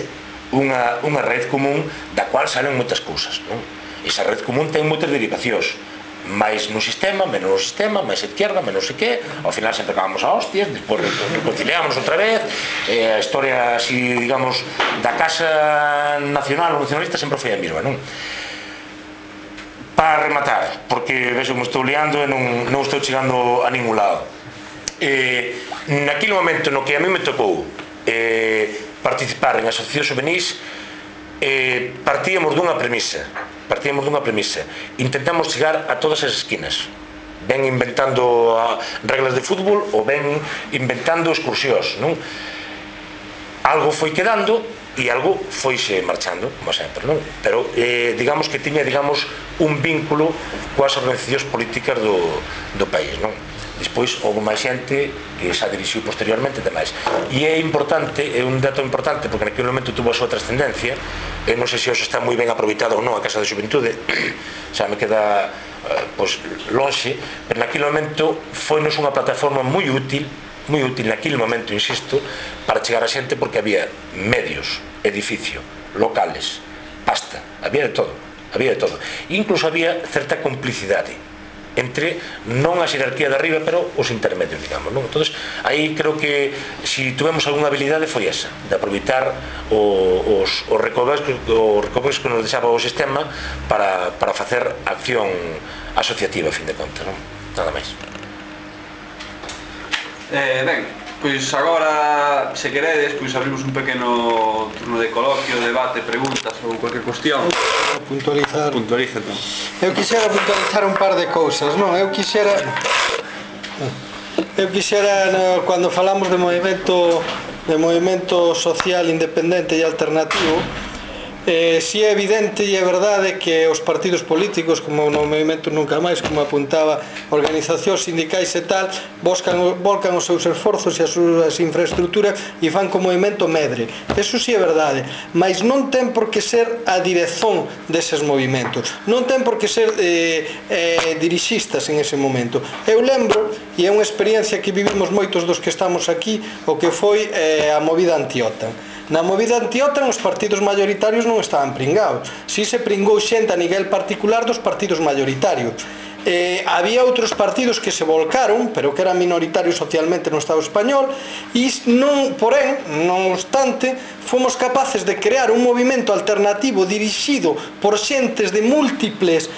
unha red común da cual salen moitas cousas, non? Esa red común ten moitas derivacións, máis no sistema, menos no sistema, máis a izquierda, menos sei que, ao final sempre acabamos a hostias, despois reconciliamos outra vez, a historia, así, digamos, da Casa Nacional ou Nacionalista sempre foi a mesma, non? Para rematar, porque vexo que me estou liando e non estou chegando a ningún lado. Naquele momento no que a mí me tocou participar en asociacións juvenis, partíamos dunha premisa, intentamos chegar a todas as esquinas, ben inventando reglas de fútbol ou ben inventando excursións, non? Algo foi quedando, e algo foixe marchando, como sempre, non? Pero digamos que tiña, digamos, un vínculo coas organizacións políticas do país, non? Despois houve máis xente que xa dirixiu posteriormente demais. E é importante, é un dato importante, porque naquele momento tuvo a súa trascendencia. Eu non sei se hoxe está moi ben aproveitado ou non a Casa de Xuventude, xa me queda lonxe, pero naquele momento foinos unha plataforma moi útil naquele momento, insisto, para chegar a xente, porque había medios, edificio, locales, pasta, había de todo. Incluso había certa complicidade entre non a xerarquía de arriba, pero os intermedios, digamos, non? Entón, aí creo que se tuvemos algunha habilidade foi esa, de aproveitar os recovecos que nos deixaba o sistema para facer acción asociativa, a fin de contas, non? Nada máis. Ben, pois agora, se queredes, pois abrimos un pequeno turno de coloquio, debate, preguntas ou cualquier cuestión. Puntualizar. Puntualiza, entón. Eu quixera puntualizar un par de cousas, non? Eu quixera cando falamos de movimento social independente e alternativo, si é evidente e é verdade que os partidos políticos, como no Movimento Nunca Máis, como apuntaba, organizacións sindicais e tal, volcan os seus esforzos e as súas infraestructuras e fan co movimento medre. Eso si é verdade, mas non ten por que ser a direzón deses movimentos, non ten por que ser dirixistas en ese momento. Eu lembro, e é unha experiencia que vivimos moitos dos que estamos aquí, o que foi a movida anti-OTAN. Na movida anti-OTAN os partidos maioritarios non estaban pringados. Si se pringou xente a nivel particular dos partidos maioritarios. Había outros partidos que se volcaron, pero que eran minoritarios socialmente no Estado español, e non, porén, non obstante, fomos capaces de crear un movimento alternativo dirixido por xentes de múltiples,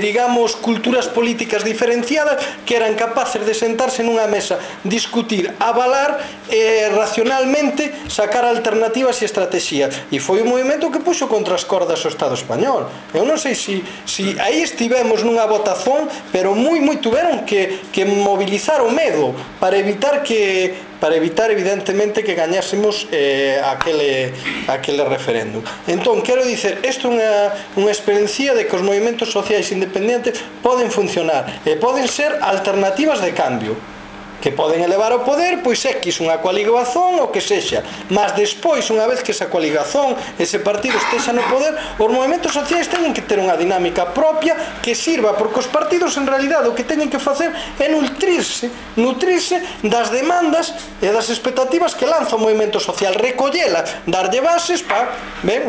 digamos, culturas políticas diferenciadas, que eran capaces de sentarse nunha mesa, discutir, avalar racionalmente, sacar alternativas e estrategias. E foi un movimento que puxo contra as cordas o Estado español. Eu non sei se aí estivemos nunha votación, pero moi tuveron que mobilizar o medo para evitar evidentemente que gañásemos aquele referéndum. Entón, quero dicer, isto é unha experiencia de que os movimentos sociais independentes poden funcionar e poden ser alternativas de cambio, que poden elevar ao poder, pois X, unha coaligación ou que sexa, mas despois, unha vez que esa coaligación, ese partido estexa no poder, os movimentos sociais teñen que ter unha dinámica propia que sirva, porque os partidos en realidade o que teñen que facer é nutrirse das demandas e das expectativas que lanza o movimento social, recollelas, darlle bases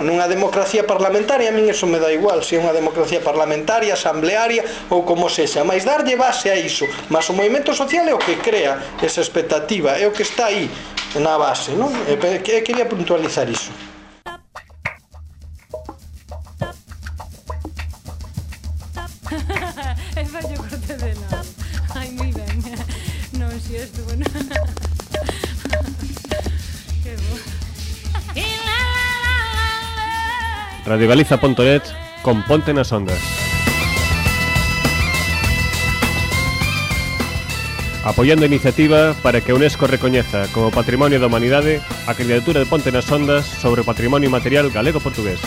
nunha democracia parlamentaria. A min eso me dá igual, se é unha democracia parlamentaria, asamblearia ou como sexa, mas darlle base a iso, mas o movimento social é o que crea esa expectativa, é o que está aí na base, non? Quería puntualizar iso. É fallo corte de nada. Ai, moi ben. Non, si estuvo, non. Que bo. Radiogaliza.net con Ponte nas Ondas. Apoiando a iniciativa para que a UNESCO recoñeza como Patrimonio da Humanidade a candidatura de Ponte nas Ondas sobre o patrimonio material galego-portugués.